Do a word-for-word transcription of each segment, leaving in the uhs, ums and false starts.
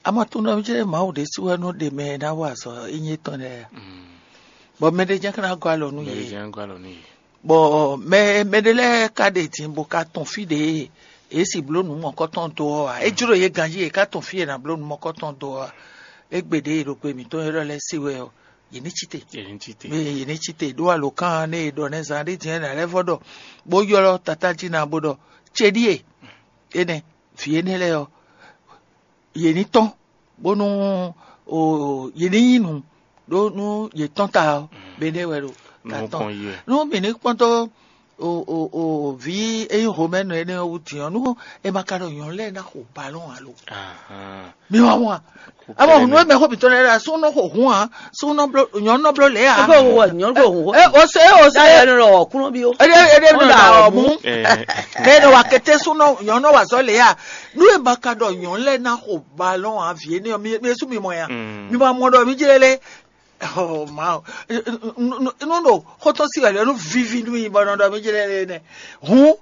Ama tún nɔ jɛ Mawu ɖésú wɛ nɔ ɖe mɛ e ná wa azɔ̌ ényí tɔn lɛ́ɛ a? Bɔ mɛɖé jɛ́n ká ná gɔ́ alɔ nú yě. Mɛɖé jɛ́n gɔ́ alɔ nú yě. Bɔ mɛ mɛɖé lɛ́ɛ ka ɖe din bó ka tɔn fí ɖě e si bló nǔ mɔ̌kɔtɔn dó ɔ́ ǎ. É jló yě ganjí yě ká tɔn fí e è nǎ bló nǔ mɔ̌kɔtɔn dó ɔ́ ǎ. Égbé ɖě e ɖo gbe mǐtɔn élɔ́ lɛ́ɛ se wɛ ɔ́, yě ní cí te. Yě ní cí te. Mɛ yě ní cí te ɖó alǒkan nú e ɖɔ nɛ́ zán ɖé din ná lɛ́ vɔ ɖɔ bó ylɔ́ tatá jí ná bó ɖɔ: "Céɖíe énɛ́, vǐ énɛ́ lɛ́ɛ ɔ́, yě ní tɔ́n bónú o yě ní nyí nǔ ɖó nú yě tɔ́n ta ɔ́, bɛnɛ́ wɛ ɖo ta tɔn." Nú mǐ ní kpɔ́n dó o o o vǐ e nyí Romɛnu énɛ́ ɔ́ wú din ɔ́, nú è ma ka ɖɔ nyɔ̌nu lɛ́ɛ ná xo balɔ́n alo mi wá wá. Abo nú e mɛ xó mǐtɔn lɛ́ɛ ɖo asúnɔ xo hun ǎ, súnɔ bló nyɔ̌nu nɔ bló lě ǎ. Ebe wo wɔ nyɔnu ko hun E o se o se Táyà ló lọ wɔ kúnú bí ó. Ede ede Ó nɔ dà da ɔ ɔmú. mú. Bẹ́ẹ̀ ni wà kété súnú nyɔ̌nu wà zɔ lě ǎ. Nú e ma ka ɖɔ nyɔ̌nu lɛ́ɛ ná xo balɔ́n ǎ, vǐ énɛ́ ɔ́, mi mi sú mi mɔ ya. Mi ma mɔ ɖɔ mi jlé lé. Oh, ma. Nú ɖo xótó sí wɛ lɛ nú vivi nú mi bɔ nɔ ɖɔ mi jlé lé nɛ. Hun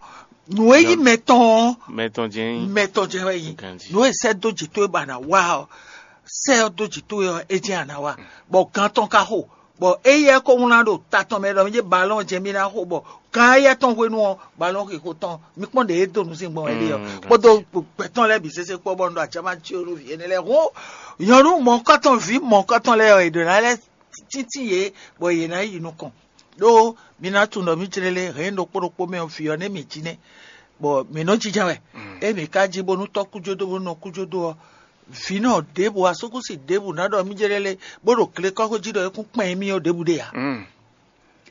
nǔ e yí mɛtɔn ɔ́, Mɛtɔn jɛn yín. Mɛtɔn jɛ wɛ yi. Ganji. Nǔ e sɛ dó jì towe ba na wa ɔ, sɛ ɔ dó jì towe ɔ, é jɛ ana wa. Bɔ gan tɔn ka xo. Bɔ éyɛ ko wlán ɖo ta tɔn mɛ ɖɔ mi jɛ balɔn jɛ mi na xo bɔ gan éyɛ tɔn hwenu ɔ, balɔn xixo tɔn mi kpɔn ɖe e do nu sin gbɔn wɛ ɖe ɔ. Kpɔdɔ gbɛtɔn lɛ bi sese kpɔ bɔ nɔ ajama tsi o nu vi ene lɛ ho. Nyɔnu mɔkɔtɔn vi mɔkɔtɔn lɛ ɔ, eɖo na lɛ títí yě bɔ yě ná yi nukɔn. Ɖó mi ná tunɔ mì clélé hɛ̌n ɖokpó ɖokpó mɛ ɔ́, vǐ ɔ́ nɛ́ mǐ jí nɛ́, bɔ mǐ nɔ jínjɔ́n wɛ. Ée mǐ ka jí bónú tɔ́ kújódó bónú nɔ kújódó ɔ́, vǐ nɔ ɖěbǔ asúkúsi ɖěbǔ ná ɖɔ mì jlélé bó ɖo glekɔ́xwé jí ɖɔ é kún kpɛn émí ɔ́ ɖěbǔ ɖe ǎ.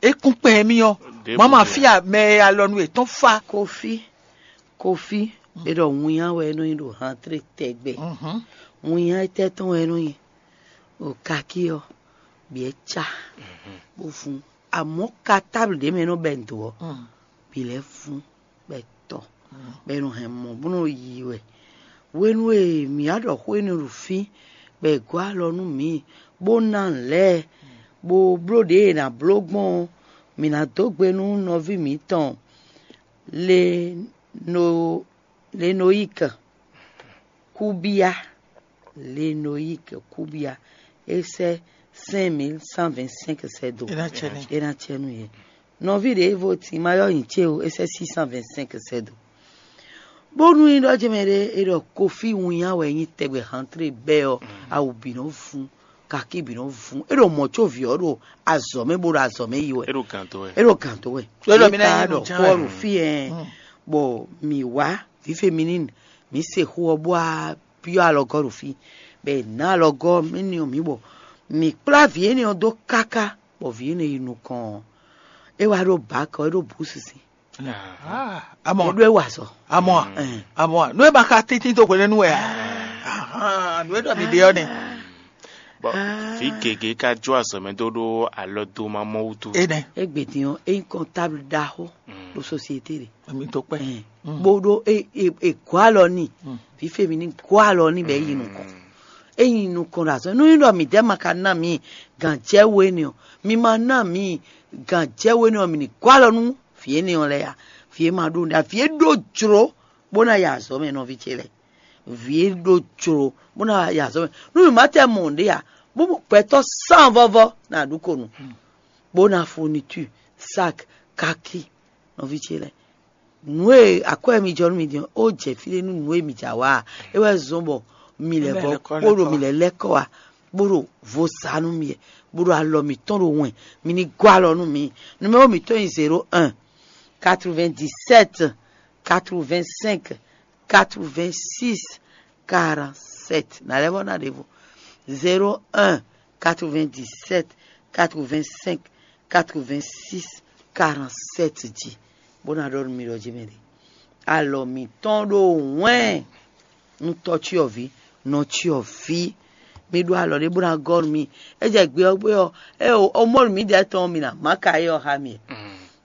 É kún kpɛn émí ɔ́, mama fí a mɛ e alɔnu yětɔn fa. Kofi, kofi, e ɖɔ winnya wɛ é nɔ nyi ɖo hantré tɛgbɛ. Winnya étɛ́ tɔn wɛ é nɔ nyi? O kaki ɔ́, bǐ é cá, bó fún. Amɔ̌ ka táblu ɖě mɛ e nɔ bɛ́ nǔ dó ɔ́, bǐ lɛ́ fún, bɔ é tɔ, bɔ è nɔ hɛn mɔ bó nɔ yi wɛ. Hwenu e mǐ wá ɖɔ xó énɛ́ ɖo fí, bɔ è gɔ́ alɔ nú mǐ, bó ná nǔ lɛ́ɛ, bó bló ɖě è nǎ bló gbɔn ɔ́, mǐ ná dó gbe nú nɔví mǐtɔn Leno- Lenoyík, Kúbíá. Lenoyík, Kúbíá. É sɛ́ cinq mille cent vingt-cinq sɛ́ dó. É ná cɛ n'i. É ná cɛ nú yě. Nɔví ɖěvo Timayɔ́ nyi cé o, é sɛ́ six cent vingt-cinq sɛ́ dó. Bónú é ɖɔ jɛmɛ ɖé, é ɖɔ kofi winnya wɛ nyí tɛgbɛ hantré bɛ́ ɔ́, awu bǐ nɔ vún, kakí bǐ nɔ vún. É ɖo mɔ̌ có vǐ ɔ́ ɖo azɔ̌ mɛ bó ɖo azɔ̌ mɛ yi wɛ. É ɖo gǎn dó wɛ. É ɖo gǎn dó wɛ. Éɖɔ mi ná Ka yi ɖɔ nǔ ján Pɔ́lu wɛ. Fí ɛ, bɔ mǐ wá vǐ féminín, mǐ se xó ɔ́ bó wá byɔ́ alɔgɔ́ ɖo fí, bɔ è nǎ alɔgɔ́ mɛ n'i ɔ́ mǐ bɔ mǐ kplá vǐ énɛ́ ɔ́ dó káká, bɔ vǐ énɛ́ yi nukɔn ɔ́, é wá ɖó bǎkɔ, é ɖó bǔ sinsin, Ah, é amɔ ɖó é wa azɔ̌. amɔ Ɛn. amɔ nú e ma ka tíntín do hwenu nú wɛ a. Ahan, nú e ɖɔ mi ɖe ɔ́ nɛ. Bɔ vǐ gěgé ka jó azɔ̌ mɛ dó ɖó alɔ dó ma mɔ wútu. Enɛ Égbé din ɔ́, é nyí kɔntáblu ɖaxó ɖo sosiété ɖe. mi tó pẹ́. Ɛn. Bó ɖó é é é gɔ́ alɔ n'i, vǐ féminín gɔ́ alɔ n'i bɔ é yi nukɔn. É yi nukɔn ɖo azɔ̌. Nú nyí ɖɔ mǐdɛɛ ma ka ná mǐ gǎnjɛwú énɛ́ ɔ́, mi ma ná mǐ gǎnjɛwú énɛ́ ɔ́, mǐ ní gɔ́ alɔ nú vǐ énɛ́ ɔ́ lɛ́ɛ ǎ. Vǐ e ma ɖó nǔɖé ǎ, vǐ e ɖó jlǒ bó ná yi azɔ̌ mɛ nɔví ce lɛ́ɛ. Vǐ e ɖó jlǒ bó ná yi azɔ̌ mɛ. Nú mǐ ma tɛ mɔ nǔɖé ǎ, bó mɔ gbɛtɔ́ sán vɔ́vɔ́ ná ɖu ko nǔ, bó ná fourniture, sac, kaki, nɔví ce lɛ́ɛ. Nǔ e akwɛ́ mi jɔ nú mi din ɔ́, ó jɛ fí ɖé nú nǔ e mi jɛ awǎ ǎ. É wɛ zɔ́n bɔ mi lɛ́ vɔ kpóɖo mi lɛ́ lɛ́ kɔ wá, bó ɖo vo sa nú mi, bó ɖo alɔ mǐtɔn ɖo wɛn, mi ní gɔ́ alɔ nú mi. Numéro mǐtɔn nyí zéro un, quatre-vingt-dix-sept, quatre-vingt-cinq, quatre-vingt-six, quarante-sept. Nǎ lɛ́ vɔ ná ɖěvo. Zéro un, quatre-vingt-dix-sept, quatre-vingt-cinq, quatre-vingt-six, quarante-sept jí, bó ná ɖɔ nú mi ɖɔ jí mɛ ɖe. Alɔ mǐtɔn ɖo wɛn nú tɔ́cyɔvǐ, nɔcyɔvǐ. Mi ɖó alɔ ɖé bó ná gɔ́ nú mi. É jɛ gbe ɔ́ gbe ɔ́, é o mɔ nú mi ɖɛ̌ tɔn mi ná má ka é ɔ́ xá mi.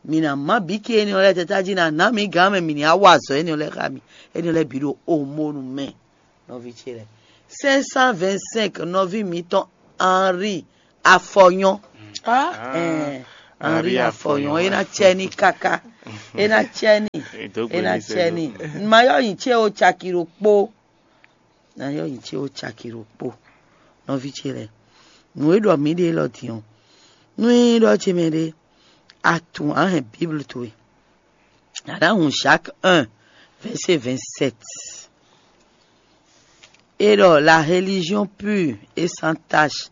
Mi ná má bǐ ké énɛ́ ɔ́ lɛ́ɛ tata jí ná ná mi gǎn mɛ mi ní á wa azɔ̌ énɛ́ ɔ́ lɛ́ɛ xá mi. Énɛ́ ɔ́ lɛ́ɛ bǐ ɖo omonu mɛ, nɔví ce lɛ́ɛ. Cinq cent vingt-cinq, nɔví mǐtɔn Henri Afɔnyɔ́. Ɛɛ, Henri Afɔnyɔ́, é ná cɛ ní káká. É ná cɛ ní. É ná cɛ ní. Mayɔ nyi ce o caki ɖokpó. ná yɔ nyi ce ó caki ɖokpó. Nɔví ce lɛ́ɛ, nǔ e ɖɔ mǐ ɖe élɔ́ din ɔ́, nú nyí ɖɔ ce mɛ ɖé, a tunwun a hɛn Bíblu towe, a nǎ hun Jacques un, verset vingt-sept. É ɖɔ la religion pure et sans tache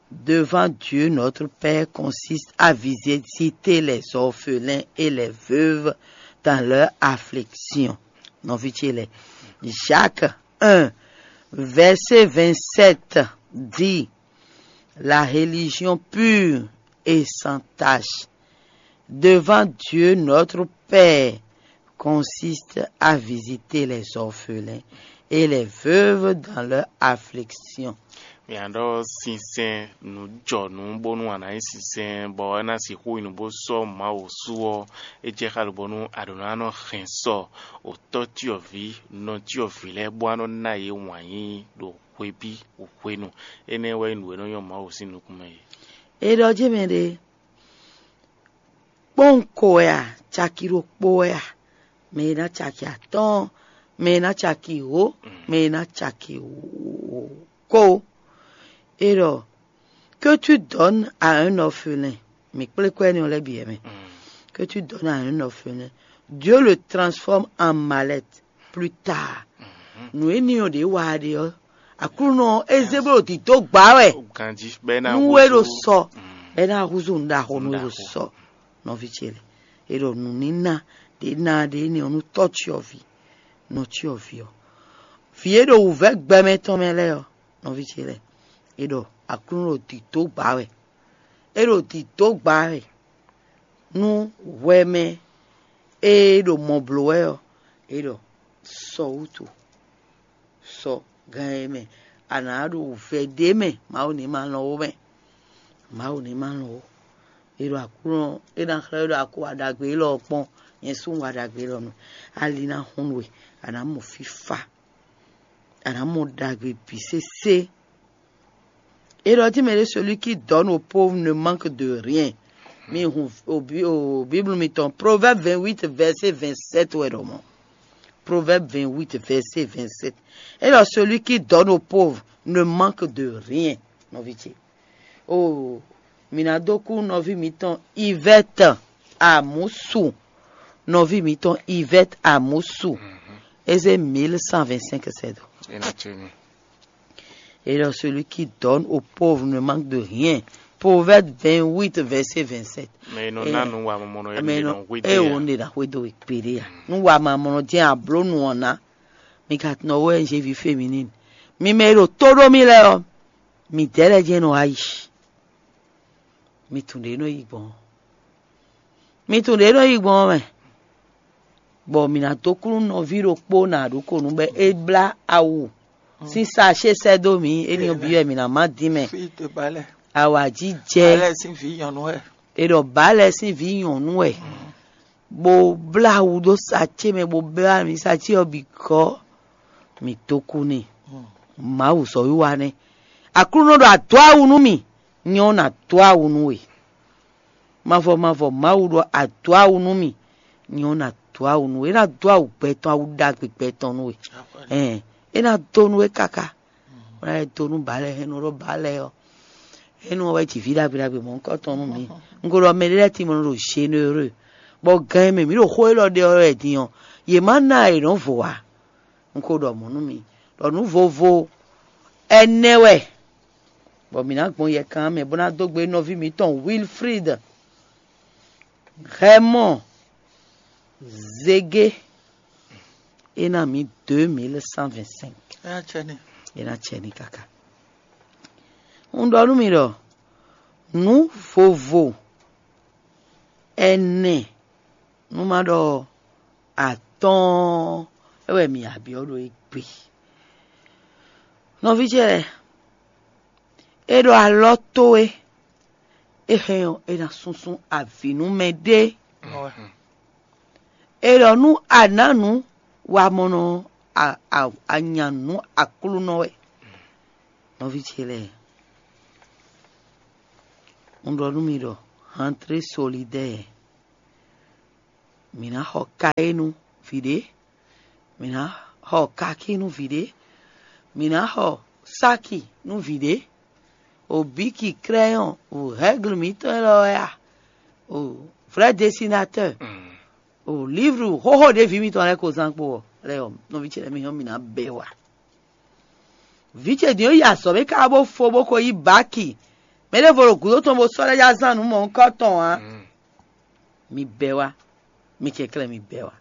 devant Dieu notre Père consiste à visiter les orphelins et les veuves dans leur affliction. Nɔví ce lɛ́ɛ, Jacques un, verset vingt-sept dit, la religion pure et sans tache devant Dieu notre Père consiste à visiter les orphelins et les veuves dans leur affliction. Mǐ ɖɔ sinsɛn nǔjɔnǔ bónú a nǎ nyí sinsɛn bɔ é ná sixú nyí nǔ bó sɔ́ Mawu su ɔ́, é jɛ xá lobɔ́nú a ɖǒ ná nɔ hɛn sɔ otɔ́ cyɔ́ví, nɔ cyɔ́ví lɛ́ɛ bó wá nɔ ná yě wǎn yíyí ɖo hwebí hwenu. Énɛ́ wɛ nyí nǔ e nɔ nyɔ́ Mawu sín nukún mɛ é. È ɖɔ jɛ́n mɛ ɖé, kpɔ́nwun ko wɛ a, caki ɖokpó wɛ a, mɛ e ná caki atɔ́ɔ́n, mɛ e ná caki wǒ, mɛ e ná caki wǒ kó. É ɖɔ, que tu donnes à un orphelin, mǐ kplé kɔ énɛ́ ɔ́ lɛ́ɛ bǐ wɛ mɛ, que tu donnes à un orphelin, Dieu le transforme en mallette plus tard. Nǔ énɛ́ ɔ́ ɖě wa ɖe ɔ́, Aklúnɔ ɔ́, é zé bó ɖo dǐdó gbǎ wɛ. Ganjí bɔ é ná nú é ɖo sɔ, bɔ é ná húzú nǔ ɖaxó nú é ɖo sɔ. Nɔví ce lɛ́ɛ, é ɖɔ nǔníná ɖě ná ɖě énɛ́ ɔ́ nú tɔ́ cyɔ́ví, nɔ cyɔ́ví ɔ́, vǐ e ɖo wǔvɛ́ gbɛmɛ tɔn mɛ lɛ́ɛ ɔ́, nɔví ce lɛ́ɛ, é ɖɔ Aklúnɔ ɖo dǐdó gbǎ wɛ. É ɖo dǐdó gbǎ wɛ nú hwɛ mɛ e ɖo mɔ blǒ wɛ ɔ́, é ɖɔ sɔ wútu, sɔ gan e mɛ a nǎ ɖo vɛ̌ ɖé mɛ, Mawu ní ma lɔn ó mɛ. Mawu ní ma lɔn ó. É ɖo Aklúnɔ é ná xlɛ́ we ɖɔ a ko wa ɖagbe élɔ́ ɔ́ kpɔ́n, nyɛ sú un wa ɖagbe élɔ́ nú. Ali ná hun we, a nǎ mɔ fífá, a nǎ mɔ ɖagbe bǐ sésé. Et il dit, mais celui qui donne aux pauvres ne manque de rien. Mi hun o Bi- o Bible mitɔn, Proverbe vingt-huit, verset vingt-sept wɛ ɖɔ mɔ. Proverbe vingt-huit, verset vingt-sept. Et alors, celui qui donne aux pauvres ne manque de rien. Nɔví ce. Oh, mi ná dó kú nɔví mitɔn Yvette Amusu. Nɔví mitɔn Yvette Amusu. Eze mille cent vingt-cinq sɛdo. É ná ce mi. Et alors, celui qui donne aux pauvres ne manque de rien. Proverbe vingt-huit, verset vingt-sept. Mɛ e nɔ ná nu wa mɔmɔnɔ e mɛ nɔ nɔ hwe e dé wo ya. Ne na hwe do ekpe ɖe ya. Nu wa ma mɔnɔ jɛ ablonu ɔna. Mi ka nɔ wo N G V féminine. Mi mɛ e ɖo tó ɖó mi lɛ ɔ. Mi dɛ lɛ jɛ nɔ ayi. Mi tun ɖe nɔ yi gbɔn. Mi tun ɖe nɔ yi gbɔn mɛ. Bɔ mǐ ná dó kú nú nɔví ɖokpó nǎ ɖó kɔ nú bɔ é blá awu sín sachet sɛ́ dó mǐ, éní ɔ́ bǐ wɛ mǐ ná má dín mɛ. Fí te balẹ̀. Awǎjijɛ. Balẹ̀ sín vǐ nyɔ̌nu wɛ. È ɖɔ bǎlɛ sín vǐ nyɔ̌nu wɛ, bó blá awu ɖó sachet mɛ, bó blá mǐ sachet ɔ́ bǐ gɔ́, mǐ dó kú n'i. Mawu zɔ̌wiwa nɛ́. Aklúnɔ ɖɔ a dó awu nú mì, nyɛ ɔ́ nǎ dó awu nú we. Mavɔ mavɔ Mawu ɖɔ a dó awu nú mì, nyɛ ɔ́ nǎ dó awu nú we. É ná dó awu gbɛ tɔn, awu ɖagbe gbɛ tɔn nú we. Ɛn, é ná dó nú we káká. Bó ná lɛ́ dó nú bǎlɛ, hɛn nɔ ɖɔ bǎlɛ ɔ́, é nú ɔ́ wɛ ji vǐ ɖagbe ɖagbe mɔ̌hunkɔtɔn nú mǐ. Un ko ɖɔ mɛ ɖé lɛ́ɛ timɔ nɔ ɖo généreux, bɔ gan e mɛ mǐ ɖo xó élɔ́ ɖe ɔ́ wɛ din ɔ́, yě má ná e nɔ́ vo ǎ. Un ko ɖɔ mɔ̌ nú mi, ɖɔ nǔ vovo ɛnɛ wɛ, bɔ mǐ ná gbɔn yɛkan mɛ bó ná dó gbe nɔví mǐtɔn Wilfrid Hɛmɔ Zege, é ná mǐ deux mille cent vingt-cinq. É ná cɛ ní. É ná cɛ ní káká. Un ɖɔ nú mi ɖɔ nǔ vovo ɛnɛ, nú má ɖɔ atɔ́ɔ́n, é wɛ mǐ ya byɔ́ ɖo égbé. Nɔví ce lɛ́ɛ, é ɖɔ alɔ towe, é hɛn ɔ́, é ná súnsún avǐ nú mɛɖé. È ɖɔ nú a nǎ nǔ wamɔnɔ a, a, a nya nǔ Aklúnɔ wɛ. Nɔví ce lɛ́ɛ, un ɖɔ nú mi ɖɔ, rentrée solidaire, mǐ ná xɔ kayé nú vǐ ɖé, mǐ ná xɔ kakí nú vǐ ɖé, Mǐ ná xɔ sáki nú vǐ ɖé, o bíki krɛ́yɔn, o hɛ́glu mǐtɔn élɔ́ wɛ a, o vrɛ́ desinatɛ́, o líblu xóxó ɖě vǐ mitɔn lɛ́ɛ ko zán kpo ɔ́, lɛ́ɛ ɔ́, nɔví ce lɛ́ɛ mi hɔn mǐ ná bɛ́ wa. Vǐ ce din ɔ́ yi azɔ̌ mɛ káká bó fó bó ko yí baki. Mɛ ɖěvo ɖo gǔdo tɔn bó sɔ́ lɛ́ yá zán nǔ mɔ̌hunkɔ tɔn ǎ. Mi bɛ́ wá, mi kɛnklɛ́n mi bɛ́ wá.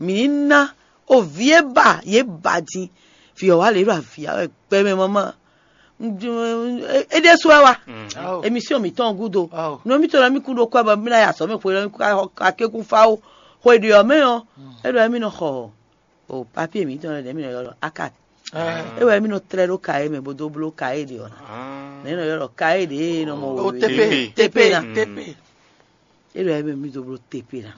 Mǐ ní ná o vǐ e ba yě ba din. Vǐ ɔ́ wá lě ɖo avǐ ya wɛ gbɛmɛ mama. É ɖésú wɛ wá. Émisíɔn mǐtɔn gúdo. Nú mítɔn lɔ mí kún ɖó kwɛ bɔ mí ná yi azɔ̌ mɛ xwe lɔ mí kún akékún fá ó. Xwe ɖě ɔ́ mɛ ɔ́, é ɖɔ émí nɔ xɔ o papier mǐtɔn lɛ́ɛ ɖě mǐ nɔ ylɔ́ ɖɔ akat. É wɛ mí nɔ tlɛ́ ɖó kayé mɛ bó dó bló kayé ɖě ɔ́ ná. Nɛ̌ nɔ ylɔ́ ɖɔ kayé ɖě e nɔ mɔ wěwé tepe tepe ná. Tepe. É ɖɔ émɛ mí dó bló tepe ná.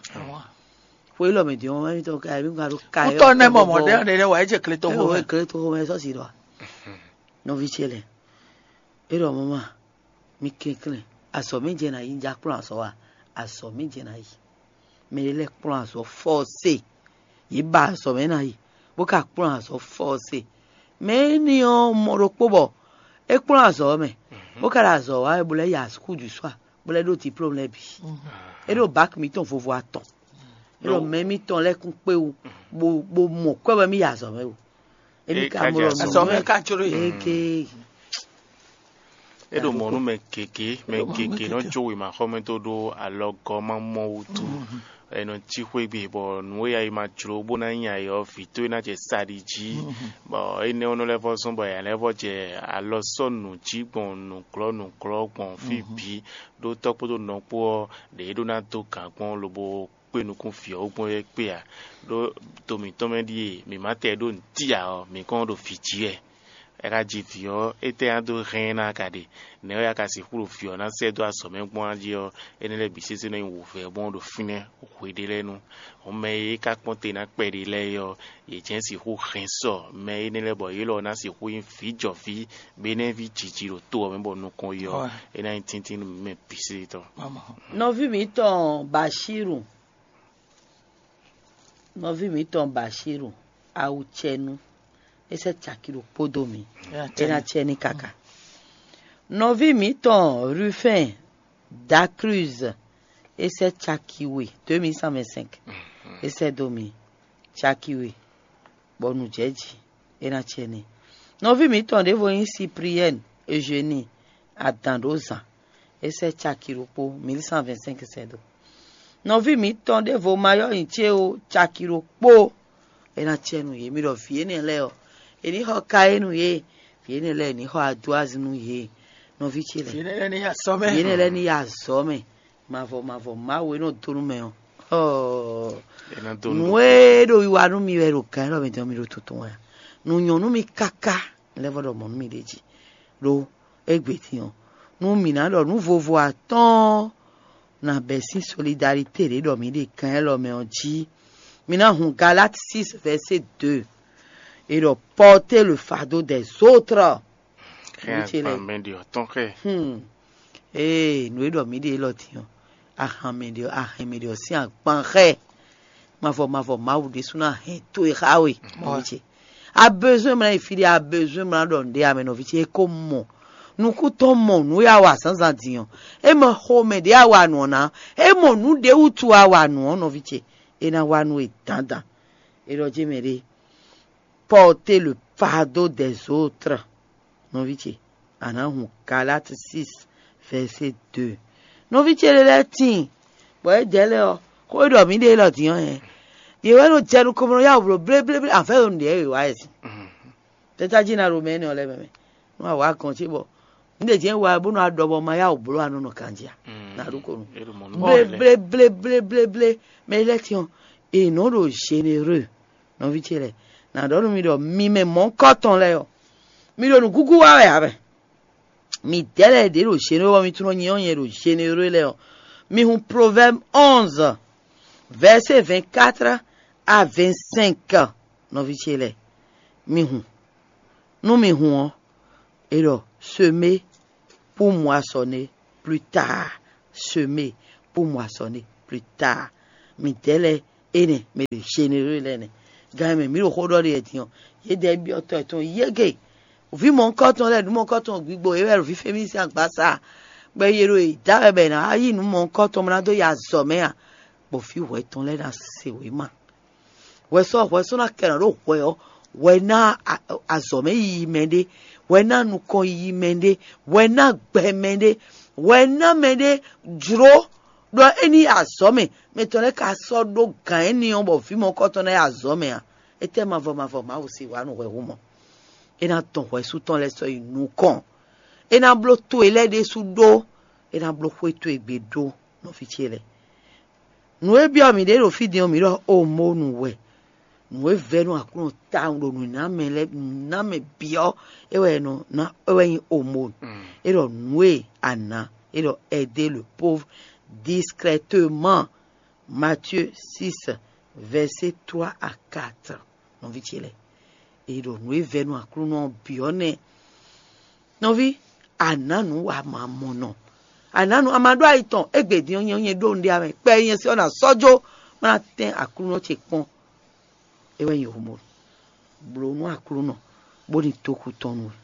Xwe élɔ́ mɛ din ɔ́ mɛ mítɔn kayé mí gba ɖó kayé. Kútɔ nɛ mɔ mɔ ɖɛ ɖɛ wà é jɛ kle tó xo mɛ. Kle tó xo mɛ sɔ́ si ɖɔ. Nɔví ce lɛ. É ɖɔ mama, mi kɛnklɛ́n, azɔ̌ mɛ jɛ ná yi, un ja kplɔ́n azɔ̌ a? Azɔ̌ mɛ jɛ ná yi. Mɛ ɖé lɛ́ɛ kplɔ́n azɔ̌ fɔ́ɔse. Yě ba azɔ̌ mɛ ná yi, bó ka kplɔ́n azɔ̌ fɔ́ɔse. Mɛ énɛ́ ɔ́ mɔ ɖokpó bɔ é kplɔ́n azɔ̌ ɔ́ mɛ, bó ka ɖo azɔ̌ wa wɛ bó lɛ́ yi asúkúdǔswa, bó lɛ́ ɖó diplôme lɛ́ɛ bǐ. É ɖo bak mǐtɔn vovo atɔn. É ɖo mɛ mǐtɔn lɛ́ɛ kún kpé wú, bó bó mɔ kwɛ́ wɛ mí yi azɔ̌ mɛ o. Émí ka mɔ ɖɔ azɔ̌ mɛ ka jló e. Eke. É ɖo mɔ̌ nú mɛ gěgé, mɛ gěgé nɔ jó wěmaxɔmɛ dó ɖó alɔgɔ́ ma mɔ wútu. È nɔ cí xwé gbe bɔ nǔ e ayi ma jló bó ná nyi ayǐ ɔ́, vǐ towe ná jɛ sa ɖi jí. Bɔ énɛ́ ɔ́ nɔ lɛ́ vɔ́ zɔ́n bɔ yǎ lɛ́ vɔ́ jɛ alɔ sɔ́ nǔ jí gbɔn nǔglɔ́ nǔglɔ́ gbɔn fí bǐ, ɖó tɔ́ kpódó nɔ kpó ɔ́, ɖě é ɖó ná dó gǎn gbɔn lobo kpé nukún vǐ ɔ́ wú gbɔn é kpé ǎ. Ɖó to mǐtɔn mɛ ɖíe mǐ ma tɛ ɖó nǔtí ǎ ɔ́, mǐ kɔn ɖo vǐ jí wɛ. È ka ji vǐ ɔ́, étɛ́ ná dó hɛn ɛ ná ka ɖe? Nɛ̌ wɛ a ka sixú ɖo vǐ ɔ́ ná sɛ́ dó azɔ̌ mɛ gbɔn jí ɔ́, énɛ́ lɛ́ɛ bǐ sésé nɔ nyí wǔvɛ́ gbɔn ɖo fínɛ́ hwe ɖé lɛ́ɛ nu. Hɔn mɛ e é ka kpɔ́n te ná kpɛɖé lɛ́ɛ é ɔ́, yě jɛ́n sixú hɛn sɔ mɛ énɛ́ lɛ́ɛ bɔ yě lɔ ná sixú nyí vǐjɔví, bɔ é ná nyí ví jiji ɖo to ɔ́ mɛ bɔ nukɔn yi ɔ́, é ná nyí tíntín nú mǐ mɛ bǐ sésé tɔn. Nɔví mǐtɔn Bashiru, nɔví mǐtɔn Bashiru, awu cɛnu, é sɛ́ caki ɖokpó dó mǐ, é ná cɛ ní kaka. Nɔví mǐtɔn Rufɛn Dakruz, é sɛ́ caki we, deux mille cent vingt-cinq, é sɛ́ dó mǐ, caki we, bɔ nǔ jɛ jí, é ná cɛ ní. Nɔví mǐtɔn ɖěvo nyí Sipriyɛ́ni Eugenie, adǎn ɖó zǎn, é sɛ́ caki ɖokpó, mille cent vingt-cinq sɛ́ dó. Nɔví mǐtɔn ɖěvo ma ylɔ́ nyi ce ó, caki ɖokpó, é ná cɛ nú yě. Mi ɖɔ vǐ énɛ́ lɛ́ɛ ɔ́, è ní xɔ Kainu yě, vǐ énɛ́ lɛ́ɛ è ní xɔ Aduazi nú yě. Nɔví ce lɛ́ɛ, vǐ énɛ́ lɛ́ɛ ní yi azɔ̌ mɛ. Vǐ énɛ́ lɛ́ɛ ní yi azɔ̌ mɛ. Mavɔ mavɔ Mawu e nɔ dó nú mɛ ɔ́. Ɔɔ, nǔ e ɖo wiwa nú mi wɛ ɖo gǎn élɔ́ mɛ din ɔ́, mi ɖo tuntun wɛ a? Nǔ nyɔ́ nú mi káká, lɛ́ vɔ ɖɔ mɔ̌ nú mi ɖ'é jí. Ɖó égbé din ɔ́, nú mǐ ná ɖɔ nǔ vovo atɔ́ɔ́n ná bɛ̌ sín solidarité ɖě ɖɔ mǐ ɖe gǎn élɔ́ mɛ ɔ́ jí. Mi ná hun Galate six verset deux. E ɖɔ porter le fardeau des autres. Xɛ agban mɛ ɖi ɔtɔn xɛ. Hmm. Ee, nǔ e ɖɔ mǐ ɖe élɔ́ din ɔ́, ahàn mɛ ɖe ɔ́, ahɛn mɛ ɖe ɔ́ sín agban xɛ. Mavɔ mavɔ Mawu ɖésú ná hɛn towe xá we. Nɔví ce, a besoin mla yi fí ɖé, a besoin mla ɖɔ nǔɖé amɛ nɔví ce, é ko mɔ nukúntɔn mɔ nǔ e a wa zǎnzǎn din ɔ́, é mɔ xomɛ ɖě a wa nǔ ɔ́ ná, é mɔ nǔ ɖě wútu a wa nǔ ɔ́ nɔví ce, é ná wa nú we dandan. É ɖɔ jí mɛ ɖé, porter le fardeau des autres. Nɔví ce, a nǎ hun Galate six verset deux. Nɔví ce lɛ́ɛ lɛ́ɛ tíin, bɔ é dɛ̌ lɛ́ɛ ɔ́, xó e ɖɔ mǐ ɖe élɔ́ din ɔ́ hɛn. Yě wɛ nɔ jɛ nukɔn bó nɔ yá wǔ bló bléblé, afɛ́ ɖo nǔɖé wɛ wá yɛ sin. Tɛ́tájí ná ɖo mɛ énɛ́ ɔ́ lɛ́ɛ mɛ mɛ. Nú a wǎ gɔn ce bɔ un ɖe jɛ́n wa bó nɔ aɖɔ bɔ ma yá wǔ bló anɔ nɔ ganjí a? Nǎ ɖu ko nu. Bléblé bléblé bléblé, mɛ lɛ́ɛ tíɔn, è nɔ ɖo généreux. Nɔví ce lɛ́ɛ, nǎ ɖɔ nú mi ɖɔ mi mɛ mɔ̌hunkɔtɔn lɛ́ɛ ɔ́, mi ɖo nǔgúgú wa wɛ ǎ mɛ. Mi dɛ̌ lɛ́ɛ ɖě ɖo généreux bɔ mi tunɔ nyɛ ɔ́ nyɛ ɖo généreux lɛ́ɛ ɔ́, mi hun Proverbe onze, verset vingt-quatre à vingt-cinq. Nɔví ce lɛ́ɛ, mi hun. Nú mi hun ɔ́, è ɖɔ semer pour moissonner plus tard. Semer pour moissonner plus tard. Mi dɛ̌ lɛ́ɛ énɛ́, mɛ ɖo généreux lɛ́ɛ nɛ́. Gan e mɛ mǐ ɖo xó ɖɔ ɖe wɛ din ɔ́, Yědɛɛ byɔ́ tɔ yětɔn yěgé. Vǐ mɔ̌hunkɔtɔn lɛ́ɛ, nǔ mɔ̌hunkɔtɔn gbigbo yě wɛ ɖo vǐ Femísi sín agbaza, bɔ è ɖo yě da wɛ bɔ è nǎ wá yí nǔ mɔ̌hunkɔtɔn bó ná dó yi azɔ̌ mɛ a? Bɔ vǐ hwɛ tɔn lɛ́ɛ ná se wěma. Hwɛ sɔ́ hwɛ sɔ́ ná kɛ nǎ ɖó hwɛ ɔ́, hwɛ ná azɔ̌ mɛ yiyi mɛ ɖé, hwɛ ná nukɔn yiyi mɛ ɖé, hwɛ ná gbɛ mɛ ɖé, hwɛ ná mɛ ɖé jló ɖɔ é ní yi azɔ̌ mɛ. Mɛ tɔn lɛ́ɛ ka sɔ́ ɖó gǎn éní ɔ́ bɔ vǐ mɔ̌hunkɔtɔn ná yi azɔ̌ mɛ a? Étɛ́ mavɔ mavɔ Mawu se wǎ nú hwɛhú mɔ? É ná dɔn hwɛsú tɔn lɛ́ɛ sɔ́ yi nukɔn. É ná bló to e lɛ́ɛ ɖésú ɖó. É ná bló xwé towe gbe ɖó, nɔví ce lɛ́ɛ. Nǔ e byɔ́ mǐ ɖe ɖo fí din ɔ́, mǐ ɖɔ omonu wɛ. Nǔ e vɛ́ nú Aklúnɔ tawun ɖo nǔnámɛ lɛ́ɛ nǔnámɛ byɔ́ é wɛ è nɔ ná é wɛ nyí omonu. É ɖɔ nǔ e a nǎ é ɖɔ aider le pauvre discrètement. Matthieu six, verset trois à quatre. Nɔví ce lɛ́ɛ, è ɖo nǔ e vɛ́ nú Aklúnɔ ɔ́ byɔ́ nɛ́. Nɔví, a nǎ nǔ wa ma mɔ nɔ. A nǎ nǔ a ma ɖó ayi tɔn égbé din ɔ́ nyɛ nyɛ ɖó nǔɖé amɛ kpɛ nyɛ sɛ ɔ́ ná sɔ́ jó má ná tɛ́n Aklúnɔ ce kpɔ́n. É wɛ nyí homo. Blǒ nú Aklúnɔ bó ní tókú tɔn nú we.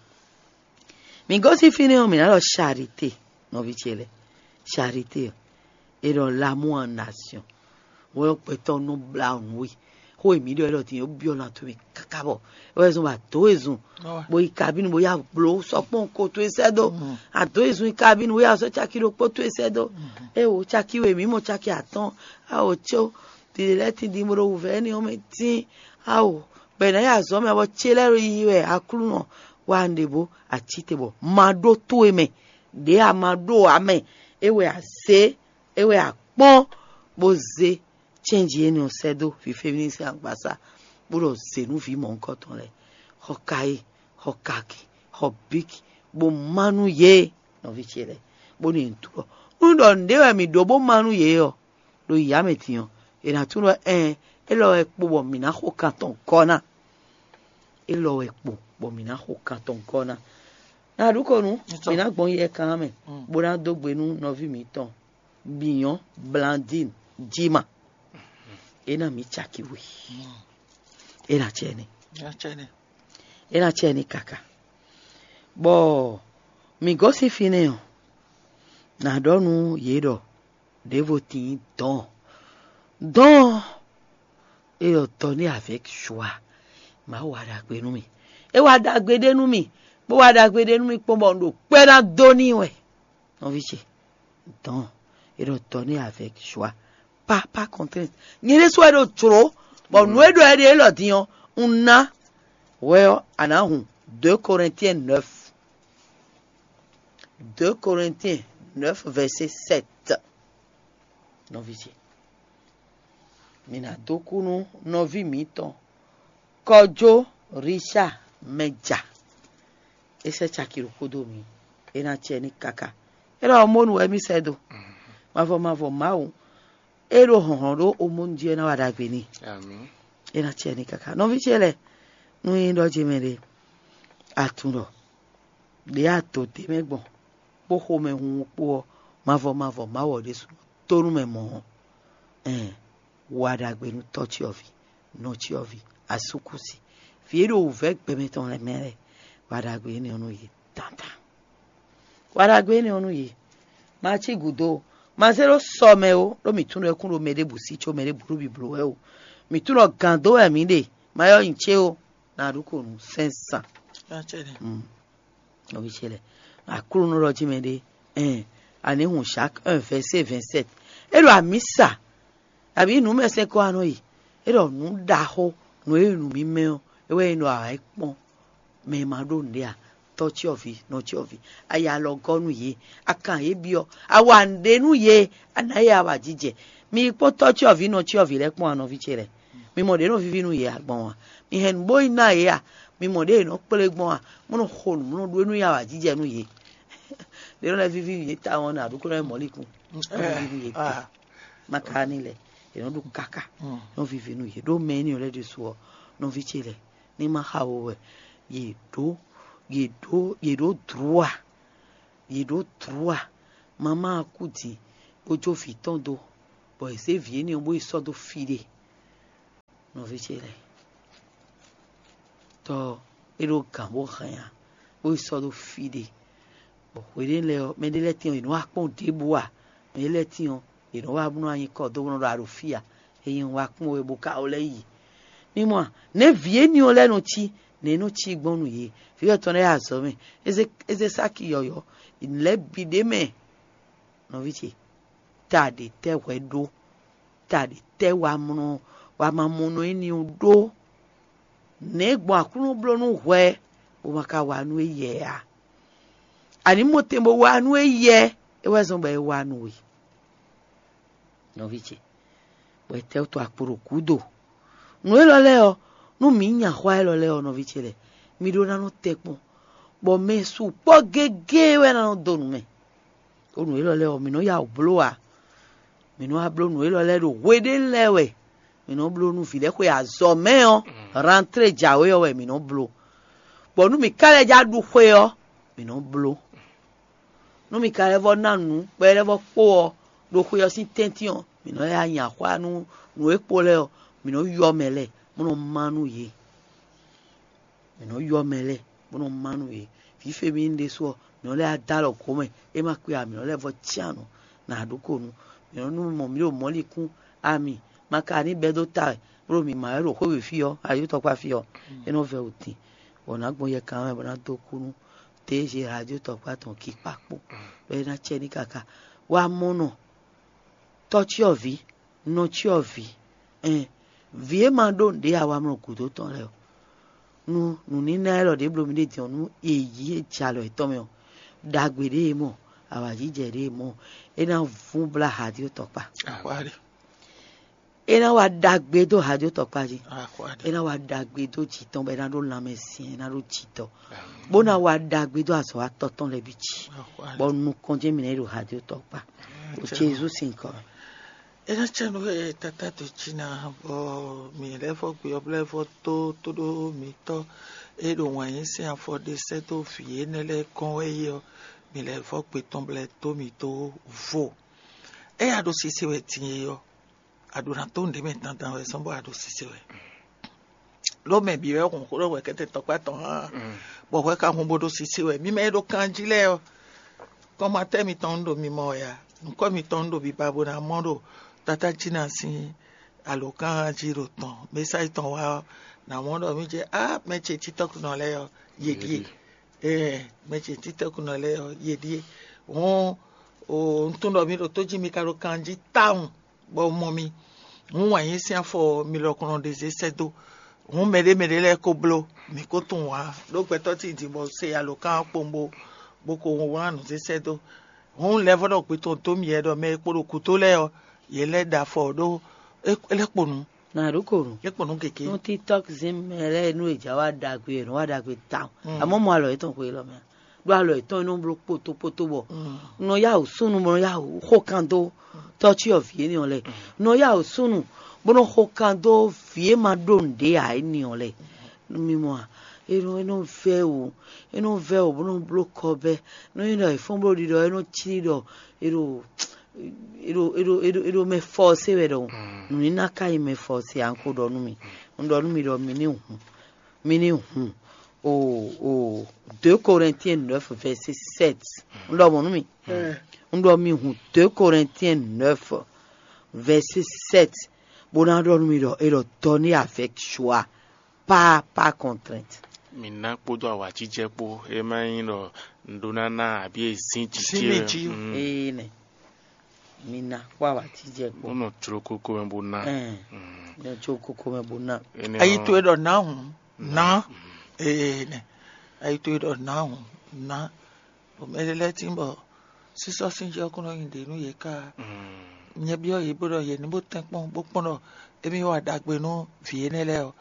Mǐ gosín fínɛ́ ɔ́, mǐ ná ɖɔ charité, nɔví ce lɛ́ɛ. Charité ɔ́, é ɖɔ l'amour en action. Hwɛ ɔ́ gbɛtɔ́ nɔ blá nǔ we. Xó e mǐ ɖɔ é ɖɔ din é byɔ́ ná towe káká bɔ é wɛ zɔn bɔ adǒ e zun bó yi kabínu bó yá blǒ sɔkpɔ́n ko towe sɛ́ dó. Adǒ e zun yi kabínu bó yá sɔ́ caki ɖokpó towe sɛ́ dó. É wo caki we mǐ mɔ caki atɔ́ɔ́n. Ao có ɖiɖe lɛ́ɛ tíndín bó ɖo wǔvɛ́ énɛ́ ɔ́ mɛ tíin. Ao bɔ è nǎ yi azɔ̌ mɛ bɔ cé lɛ́ɛ ɖo yiyi wɛ Aklúnɔ wa un ɖe bó acíte bɔ ma ɖó towe mɛ. Ɖě a ma ɖó ǎ mɛ. É wɛ a zě, é wɛ a kpɔ́n bó zé cɛ́nji énɛ́ ɔ́ sɛ́ dó vǐ Femíni sín agbaza, bó ɖɔ zě nú vǐ mɔ̌hunkɔtɔn lɛ́ɛ. Xɔ kayí, xɔ kaki, xɔ bíki, bó má nú yě, nɔví ce lɛ́ɛ, bónú yě ní tlɔ́. Nú ɖɔ nǔɖé wɛ mǐ ɖó bó má nú yě ɔ́, ɖo yǐyá mɛ din ɔ́, è nǎ tunwun ɖɔ ɛɛn, élɔ́ wɛ kpo bɔ mǐ ná xo kan tɔn gɔ́ ná. Élɔ́ wɛ kpo bɔ mǐ ná xo kan tɔn gɔ́ ná. Ná ɖu ko nú mǐ ná gbɔn yɛ kan mɛ, bó ná dó gbe nú nɔví mǐtɔn Biyɔn Blandine Jima. É ná mǐ caki we. É ná cɛ ní. É ná cɛ ní kaka. Bɔ mǐ gosín fínɛ́ ɔ́, nǎ ɖɔ nú yě ɖɔ ɖěvo tíin dɔ̌n. Dɔ̌n é ɖɔ dɔ̌n ní avec joie. Mawu wa ɖagbe nú mì. É wa ɖagbe ɖé nú mì, bó wa ɖagbe ɖé nú mì kpɔ́n bɔ un ɖo kpɛ́ ná dó n'i wɛ. Nɔví ce, dɔ̌n é ɖɔ dɔ̌n ní avec joie. Pas pas contrainte. Nyɛ ɖésú wɛ ɖo jlǒ, bɔ nǔ e ɖɔ é ɖe élɔ́ din ɔ́, un ná hwɛ ɔ́, a nǎ hun. Deux Corinthiens neuf. Deux Corinthiens neuf, verset sept. Nɔví ce, mi ná dó kú nú nɔví mǐtɔn Kɔjó Richard Mɛja. É sɛ́ caki ɖokpó dó mi. É ná cɛ ní káká. É ɖɔ omónu wɛ mì sɛ́ dó. Mavɔ mavɔ Mawu, é ɖo hlɔ̌nhlɔ́n ɖó omónu jí é ná wa ɖagbe n'i. É ná cɛ ní káká. Nɔví ce lɛ́ɛ, nú nyí ɖɔ jí mɛ ɖé, a tunwun ɖɔ ɖě a dǒ d'é mɛ gbɔn, kpó xomɛhunhun kpó ɔ́, mavɔ mavɔ Mawu ɔ́ ɖésú tó nú mɛ mɔ̌ ɔ́, ɛn wa ɖagbe nú tɔ́ cyɔ́ví, nɔ cyɔ́ví, asúkúsi, vǐ e ɖo wǔvɛ́ gbɛmɛ tɔn lɛ́ɛ mɛ lɛ́ɛ, wa ɖagbe énɛ́ ɔ́ nú yě dandan. Wa ɖagbe énɛ́ ɔ́ nú yě. Ma cí gǔdo ó, ma zé ɖó sɔ mɛ ó, ɖó mǐ tunwun ɖɔ é kún ɖo mɛ ɖěbǔ sí có mɛ ɖěbǔ ɖo bibló wɛ ó. Mǐ tunwun ɖɔ gǎn dó wɛ mǐ ɖe, ma yɔ́ nyi cé ó, na ɖu ko nǔ sɛ́n zan. Nɔví ce lɛ́ɛ, Aklúnɔ ɖɔ jí mɛ ɖé, ɛn, a nǐ hun Jacques un, verset vingt-sept. É ɖo amǐsa, abǐ nǔ mɛ sɛn kɔ anɔ yi. É ɖɔ nǔ ɖaxó, nǔ e nǔ mímɛ́ ɔ́, é wɛ nyí ɖɔ a wǎ yi kpɔ́n mɛ e ma ɖó nǔɖé ǎ, tɔ́ cyɔ́vǐ, nɔ cyɔ́vǐ, a yi alɔ gɔ́ nú yě, a kan yě byɔ́, a wa nǔɖé nú yě, a nǎ yě awǎjijɛ. Mi yi kpɔ́n tɔ́ cyɔ́vǐ, nɔ cyɔ́vǐ lɛ́ɛ kpɔ́n a nɔví ce lɛ́ɛ. Mi mɔ ɖě nɔ víví nú yě a gbɔn a? Mi hɛn nǔ bó yi ná yě a? Mi mɔ ɖě è nɔ kplé gbɔn a? Mɔ nɔ xo nǔ, mɔ nɔ ɖó nú yě awǎjijɛ nú yě. Ɖě nɔ lɛ́ víví nú yě tawun ɔ́, nǎ ɖó kó ná yi mɔ̌likún. Nɔ víví nú yě te. Ma ka ní lɛ, è nɔ ɖo káká, nɔ víví nú yě ɖó mɛ énɛ́ lɛ́ɛ ɖésú ɔ́, nɔví ce lɛ́ɛ, ní ma xa wo wɛ, yě ɖó, yě ɖó, yě ɖó dlǔ a? Yě ɖó dlǔ a? Mamá ɔ́ kú din, bó jó vǐ tɔn dó, bɔ è zě vǐ énɛ́ ɔ́ bó yi sɔ́ dó fí ɖé. Nɔví ce lɛ́ɛ, tɔ é ɖó gǎn bó hɛn ǎ, bó yi sɔ́ dó fí ɖé. Bɔ hweɖé lɛ́ɛ ɔ́, mɛɖé lɛ́ɛ tín ɔ́, yě nɔ́ wá kpɔ́n ɖěbǔ ǎ. Mɛɖé lɛ́ɛ tín ɔ́, yě nɔ́ wá bó nɔ́ wá nyí kɔ dó bó nɔ́ ɖɔ a ɖo fí ǎ. Ényí un wá kpɔ́n we bó ka wlɛ́ yi. Mi mɔ a? Nɛ̌ vǐ énɛ́ ɔ́ lɛ́ɛ nɔ cí? Nɛ̌ é nɔ cí gbɔn nú yě? Vǐ yɔ̌tɔn lɛ́ɛ azɔ̌ mɛ, é zé é zé sáki yɔ̌yɔ́, lɛ̌ bǐ ɖ'é mɛ. Nɔví ce, ta ɖě tɛ́ hwɛ ɖó? Ta ɖě tɛ́ wamlɔ wamamɔnɔ énɛ́ ɔ́ ɖó? Nɛ̌ gbɔn Aklúnɔ bló nú hwɛ bó ma ka wa nú éyɛ́ ǎ? Ani mɔtɛn bó wa nú éyɛ́, é wɛ zɔ́n bɔ é wa nú we. Nɔví ce, bɔ è tɛ́ wú to akpo ɖo gǔdo. Nǔ élɔ́ lɛ́ɛ ɔ́, nú mǐ nya xwá élɔ́ lɛ́ɛ ɔ́, nɔví ce lɛ́ɛ, mi ɖó ná nɔ tɛ́nkpɔ́n, bɔ mɛ sukpɔ́ gégé wɛ ná nɔ dó nǔ mɛ. Ɖó nǔ élɔ́ lɛ́ɛ ɔ́, mǐ nɔ́ ya wǔ bló ǎ. Mǐ nɔ́ wá bló nǔ élɔ́ lɛ́ɛ ɖo hweɖénu lɛ́ɛ wɛ. Mǐ nɔ́ bló nú vǐ lɛ́ɛ xwe azɔ̌ mɛ ɔ́, rantlé jǎwe ɔ́ wɛ mǐ nɔ́ bló. Bɔ nú mǐ ka lɛ́ já ɖu xwe ɔ́, mǐ nɔ́ bló. Nú mǐ ka lɛ́ vɔ́ ná nǔ, bɔ é lɛ́ vɔ́ kpó ɔ́, ɖo xwe ɔ́ sín tɛ́ntin ɔ́, mǐ nɔ lɛ́ nyi axwá nú nǔ e kpo lɛ́ɛ ɔ́, mǐ nɔ ylɔ́ mɛ lɛ́ɛ, bó nɔ má nú yě. Mǐ nɔ ylɔ́ mɛ lɛ́ɛ, bó nɔ má nú yě. Vǐ Femínu ɖésú ɔ́, mǐ nɔ lɛ́ dó alɔ gǒ mɛ, é ma kpe ǎ, mǐ nɔ lɛ́ vɔ́ cyán nǔ, nǎ ɖó ko nú. Mǐ nɔ nú mɔ mǐ ɖo mɔ̌likún, ami, ma ka ní bɛ́ dó ta wɛ, bó ɖo mǐ má wɛ ɖo xwé we fí ɔ́, ayǐ tɔ́kpá fí ɔ́, é nɔ vɛ́ wǔtin, bɔ nǎ gbɔn yɛ kan mɛ bɔ ná dó kú nú T G Radio tɔkpá tɔn kikpa kpó, bɔ é ná cɛ ní káká. Wá mɔ nɔ, tɔ́cyɔvǐ, nɔcyɔvǐ, ɛn, vǐ e ma ɖó nǔɖé awamlɔ gǔdo tɔn lɛ́ɛ ɔ́, nú nǔníná élɔ́ ɖě bló mì ɖe din ɔ́, nú è yí é jɛ alɔ yětɔn mɛ ɔ́, ɖagbe ɖé e mɔ, awǎjijɛ ɖé e mɔ, é ná vún blá Hadio tɔkpá. É ná wa ɖagbe dó Hadio tɔkpá jí. É ná wa ɖagbe dó jǐ tɔn bɔ é ná ɖó lanmɛ syɛ́n, é ná ɖó jǐ tɔn, bó ná wa ɖagbe dó azɔ̌watɔ́ tɔn lɛ́ɛ bǐ jí, bɔ nukɔn jɛ́n mǐ ná yi ɖo Hadio tɔkpá. Ɖo Jezu sín nyǐkɔ mɛ. É ná cɛ nú we tata dǒ jí ná, bɔ mǐ lɛ́ vɔ́ gbe ɔ́, bó lɛ́ vɔ́ dó tóɖó mǐtɔn e ɖo wǎn yí sín afɔ ɖé sɛ́ dó vǐ énɛ́ lɛ́ɛ kɔn wɛ é ɔ́, mǐ lɛ́ vɔ́ gbe tɔn bó lɛ́ dó mǐ dó vo. Éyɛ́ a ɖo sise wɛ din é ɔ́, a ɖǒ ná dó nǔɖé mɛ dandan wɛ zɔ́n bɔ a ɖo sise wɛ. Ɖó mɛ bǐ wɛ hun xó ɖɔ hwɛkɛ́tɛn tɔkpá tɔn hán, bɔ hwɛ ka hun bó ɖó sise wɛ. Mi mɛ e ɖo kanjí lɛ́ɛ ɔ́, kɔ́mátɛ́ mitɔn un ɖo mimɔ wɛ a? Nǔkɔ mitɔn un ɖo biba bó ná mɔ ɖo Tátá Jina sín alǒkan jí ɖo tɔn, mɛsáyi tɔn wá ɔ́, nǎ mɔ ɖɔ mì jɛ á mɛ ce títɔ́kúnɔ lɛ́ɛ ɔ́, yě ɖíe. Ɛɛ, mɛ ce títɔ́kúnɔ lɛ́ɛ ɔ́, yě ɖíe. Hɔn, o, un tunwun ɖɔ mi ɖo tó jí mi ka ɖo kanjí tawun, bɔ un mɔ mi. Hǔn wǎn yí sín afɔ mi lɔ kɔn nɔ ɖe zé sɛ́ dó. Hǔn mɛɖé mɛɖé lɛ́ɛ ko bló, mǐ ko tunwun ǎ, ɖó gbɛtɔ́ tíin din bɔ se alǒkan ɔ́ kpowun bó, bó ko wlán nǔ zé sɛ́ dó. Hǔn lɛ́ vɔ́ ɖɔ gbe tɔn dó mì wɛ ɖɔ mɛ e kpo ɖo gǔdo lɛ́ɛ ɔ́, yě lɛ́ ɖo afɔ ɖó é é lɛ́ kpo nǔ, Nǎ ɖó ko nǔ. É kpo nǔ gěgé. Nú TikTok zín mɛ lɛ́ɛ nú è jǎ wá ɖagbe è nɔ́ wá ɖagbe tawun. Amɔ́ mɔ alɔ yětɔn xwe élɔ́ mɛ a? Ɖó alɔ yětɔn é nɔ bló kpótókpótó bɔ un nɔ yá wǔ súnnu bó nɔ yá wǔ xó kan dó tɔ́cyɔvǐ énɛ́ ɔ́ lɛ́ɛ. Un nɔ yá wǔ súnnu bó nɔ xó kan dó vǐ e ma ɖó nǔɖé ǎ énɛ́ ɔ́ lɛ́ɛ. Mi mɔ a? É nɔ é nɔ vɛ́ wǔ, é nɔ vɛ́ wǔ bó nɔ bló kɔ bɛ́. Nú é nɔ è fɔ́n bló ɖiɖɔ é nɔ cí ɖɔ è ɖo è ɖo è ɖo è ɖo è ɖo mɛ fɔ́sé wɛ ɖɔhun. Nǔníná ka nyí mɛ fɔ́sé ǎ, un ko ɖɔ nú mi. Un ɖɔ nú mi ɖɔ mi ní hun, mi ní hun o o deux Corinthiens neuf verset sept. Un ɖɔ mɔ̌ nú mi. Un ɖɔ mi hun deux Corinthiens neuf verset sept, bó ná ɖɔ nú mi ɖɔ è ɖɔ donner avec joie, pas par contrainte. Mi ná kpódó awǎjijɛ kpó, é má nyí ɖɔ un ɖó ná ná abǐ e zín jǐ Sín ce mì wɛ. Jí. Mm. Ee nɛ. Mi ná kpó awǎjijɛ kpó. Wonɔ jló kókó mɛ bó ná. Ɛn, Mm. Nɔ jó kókó mɛ bó ná. Énɛ́ Ayi ɔ́, towe ɖɔ ná hǔn, ná. Ee nɛ. Ayi towe ɖɔ ná hǔn, ná. Bɔ mɛ ɖé lɛ́ɛ tín bɔ sísɔ́ sín jɛ ɔ́ kún nɔ nyi ɖě nú yě ká. Mm. Nyɛ byɔ́ yě bó ɖɔ yě ní bó tɛ́n kpɔ́n bó kpɔ́n ɖɔ émí wa ɖagbe nú vǐ énɛ́ lɛ́ɛ ɔ́,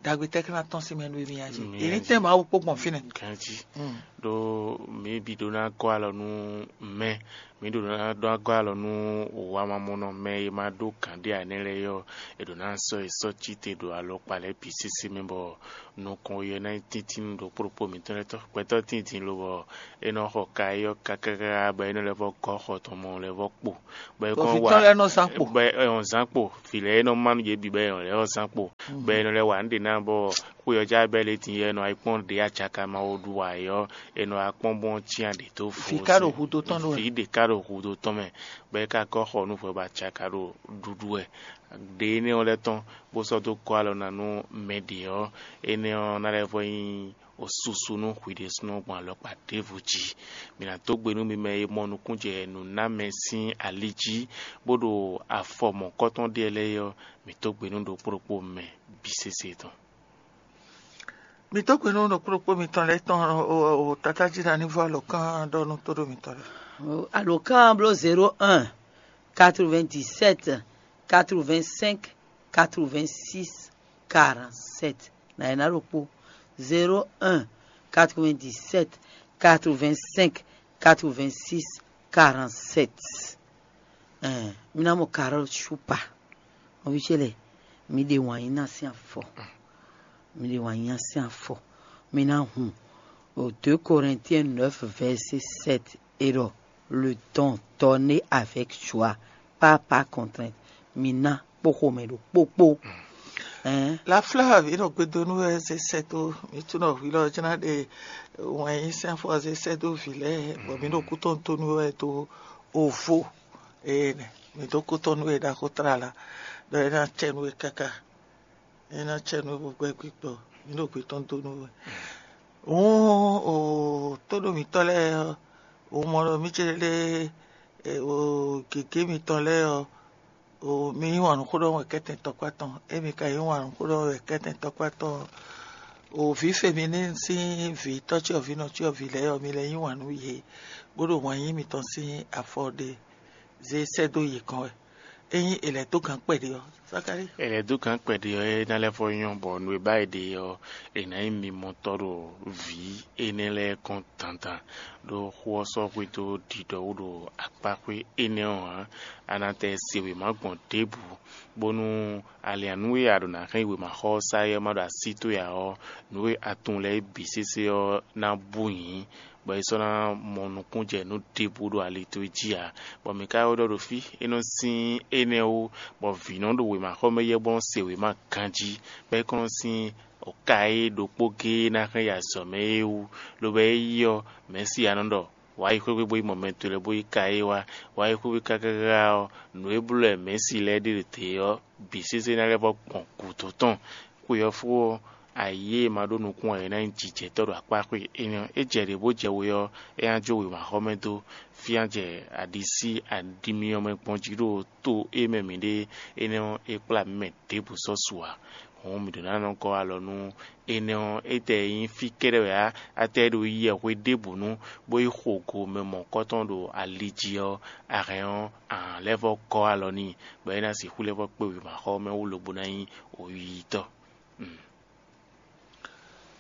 ɖagbe tɛ́ ká ná tɔ́n sín mɛ nú émí a jí? Mì Yě ní a tɛ́n jí. Mawu kpó gbɔn fínɛ́. Ganjí. Mm. Ɖó mǐ bǐ ɖó ná gɔ́ alɔ nú mɛ, mǐ ɖó ná ɖó ná gɔ́ alɔ nú wamamɔnɔ mɛ e ma ɖó gǎn ɖé ǎ énɛ́ lɛ́ɛ ɔ́, è ɖǒ ná sɔ́ è sɔ́ cí te ɖo alɔkpa lɛ́ɛ bǐ sésé mɛ bɔ nukɔn we ɔ́ ná nyí tíntín ɖo kplɔ́kpó mǐtɔn lɛ́ɛ tɔn. Gbɛtɔ́ tíin din lobɔ é nɔ xɔ ka é ɔ́ káká bɔ é nɔ lɛ́ vɔ́ gɔ́ xɔ tɔn mɔ lɛ́ vɔ́ kpo. Bɔ Bɔ vǐ wa tɔn lɛ́ɛ nɔ zán kpo. Bɔ é nɔ zán kpo. Vǐ lɛ́ɛ é nɔ má nú yě bǐ bɔ é nɔ lɛ́ ɔ́ zán kpo. Bɔ é nɔ lɛ́ wa nǔ ɖé ná bɔ Xwe ɔ́ já bɛ́ lě din yɛ nɔ ayikpɔ́n ɖě acaka ma wo ɖu ǎ é ɔ́, è nɔ wá kpɔ́n bɔn cyán ɖě dó fo. Vǐ ka ɖo hudó tɔn ɖó wɛ. Vǐ ɖě ka ɖo hudó tɔn mɛ, bɔ é ka kɔ xɔ nú hwɛ bɔ acaka ɖo ɖuɖu wɛ. Ɖě énɛ́ ɔ́ lɛ́ɛ tɔn, bó sɔ́ dó gɔ́ alɔ ná nú mɛ ɖě ɔ́, énɛ́ ɔ́ ná lɛ́ vɔ nyí susu nú hwi ɖésúnɔ gbɔn alɔkpa ɖěvo jí. Mi ná dó gbe nú mi mɛ e mɔ nukúnjɛ nǔnámɛ sín ali jí, bó ɖo afɔ mɔ̌kɔtɔn ɖe lɛ́ɛ ɔ́, mi dó gbe nú ɖokpó ɖokpó mɛ bǐ sésé tɔn. Mi dó gbe nú ɖokpó ɖokpó mitɔn lɛ́ɛ tɔn o, o, o, tata jí ɖa ní vɔ alɔkán ɖɔ nú tóɖó mitɔn lɛ́ɛ. Alɔkán bló zéro un, quatre-vingt-dix-sept, quatre-vingt-cinq, quatre-vingt-six, quarante-sept. Na ena ɖokpó, zéro un, quatre-vingt-dix-sept, quatre-vingt-cinq, quatre-vingt-six, quarante-sept. Ɛn, mi ná mɔ Carole Shupa. Nɔví ce lɛ́ɛ, mi ɖe wǎn yí ná sín afɔ. Mi ɖe wǎn yí ná sín afɔ. Mi ná hun. O deux Corinthiens neuf, verset sept, et le temps donné avec joie, pas par contrainte. Mi ná kpó xomɛ ɖo kpókpó. Ɛn, Lafla vǐ nɔ gbedo nú wɛ zé sɛ́ dó mi tún nɔ hwi lɔ jná ɖe wɛn yí sɛn fɔ zé sɛ́ dó vǐ lɛ́ɛ bɔ mi ɖo kú tɔn dó nú wɛ dó ovo. Ee nɛ, mi dó kú tɔn nú wɛ ɖaxó tlala ɖɔ é ná cɛ nú wɛ káká. É ná cɛ nú wɛ bó gbɛ gbígbɔ. Mi ɖo gbe tɔn dó nú wɛ. Hǔn o tóɖó mǐtɔn lɛ́ɛ ɔ́, o mɔ ɖɔ mí ce lé o gěgé mitɔn lɛ́ɛ ɔ́, o mi yí wǎn nú xó ɖɔ wɛ kɛ́tɛn tɔkpá tɔn. Émi ka yí wǎn nú xó ɖɔ wɛ kɛ́tɛn tɔkpá tɔn. O vǐ femi ní sín vǐ tɔ́cyɔvǐ nɔcyɔvǐ lɛ́ɛ ɔ́, mi lɛ́ yí wǎn nú yě, bó ɖo wǎn yí mitɔn sín afɔ ɖe zé sɛ́ dó yě kɔn wɛ. Ényí è lɛ̌ dó gǎn kpɛɖé ɔ́, Zakalíi. È lɛ̌ dó gǎn kpɛɖé ɔ́, é ná lɛ́ vɔ nyɔ́ bɔ nǔ e ba è ɖe ɔ́, è nǎ nyí mimɔtɔ́ ɖo vǐ énɛ́ lɛ́ɛ kɔn dandan. Ɖó xó ɔ́ sɔ́ xwedó ɖiɖɔwú ɖo akpáxwé énɛ́ ɔ́ ǎ. A nǎ tɛ se wěma gbɔn ɖěbǔ, bónú aliǎnú e a ɖǒ ná hɛn yi wěmaxɔ ɔ́ sá é ɔ́ ma ɖo así towe ǎ ɔ́, nǔ e a tunwun lɛ́ɛ é bǐ sésé ɔ́ ná bú nyǐ, bɔ é sɔ́ ná mɔ nukúnjɛ nú ɖěbǔ ɖo ali towe jí ǎ. Bɔ mǐ ka wɛ ɖɔ ɖo fí, é nɔ sín énɛ́ wú, bɔ vǐ nɔ ɖo wěmaxɔmɛ yɛ bó nɔ se wěma ganjí, bɔ é kɔn nɔ sín ka e ɖokpó géé ná hɛn yi azɔ̌ mɛ é wú, lobo é yi ɔ́, Mɛ̌si ɔ́ nɔ ɖɔ: Wǎ yi xwé gbe bó yi mɔ mɛ towe lɛ́ɛ bó yi ka é wá. Wǎ yi xwé gbe káká ɔ́, nǔ e bló wɛ Mɛ̌si lɛ́ɛ ɖe ɖo te ɔ́ bǐ sésé ná lɛ́ vɔ gbɔn gǔdo tɔn. Xwe ɔ́ fó ɔ́, ayǐ e ma ɖó nukún ǎ é ná nyí jijɛtɔ́ ɖo akpá xwe énɛ́ ɔ́. É jɛ ɖě bó jɛ we ɔ́, é ná jó wěmaxɔmɛ dó. Fí ná jɛ aɖisí aɖimyɔ mɛ gbɔn jí ɖo to e mɛ mǐ ɖe énɛ́ ɔ́, é kplá mǐ mɛ ɖěbǔ sɔ́ su ǎ. Hǔn mǐ ɖǒ ná nɔ gɔ́ alɔ nú énɛ́ ɔ́, étɛ́ e nyí fí kɛ́ɖɛ́ wɛ ǎ, átɛ́ e ɖo yiyɛ hwe ɖěbǔnu, bó yi xo go mɛ mɔ̌kɔtɔn ɖo ali jí ɔ́, a hɛn ɔ́, a hǎn lɛ́ vɔ́ gɔ́ alɔ n'i, bɔ é ná sixú lɛ́ vɔ́ kpé wěmaxɔ ɔ́ mɛ wú lobo ná nyí oyíyítɔ́.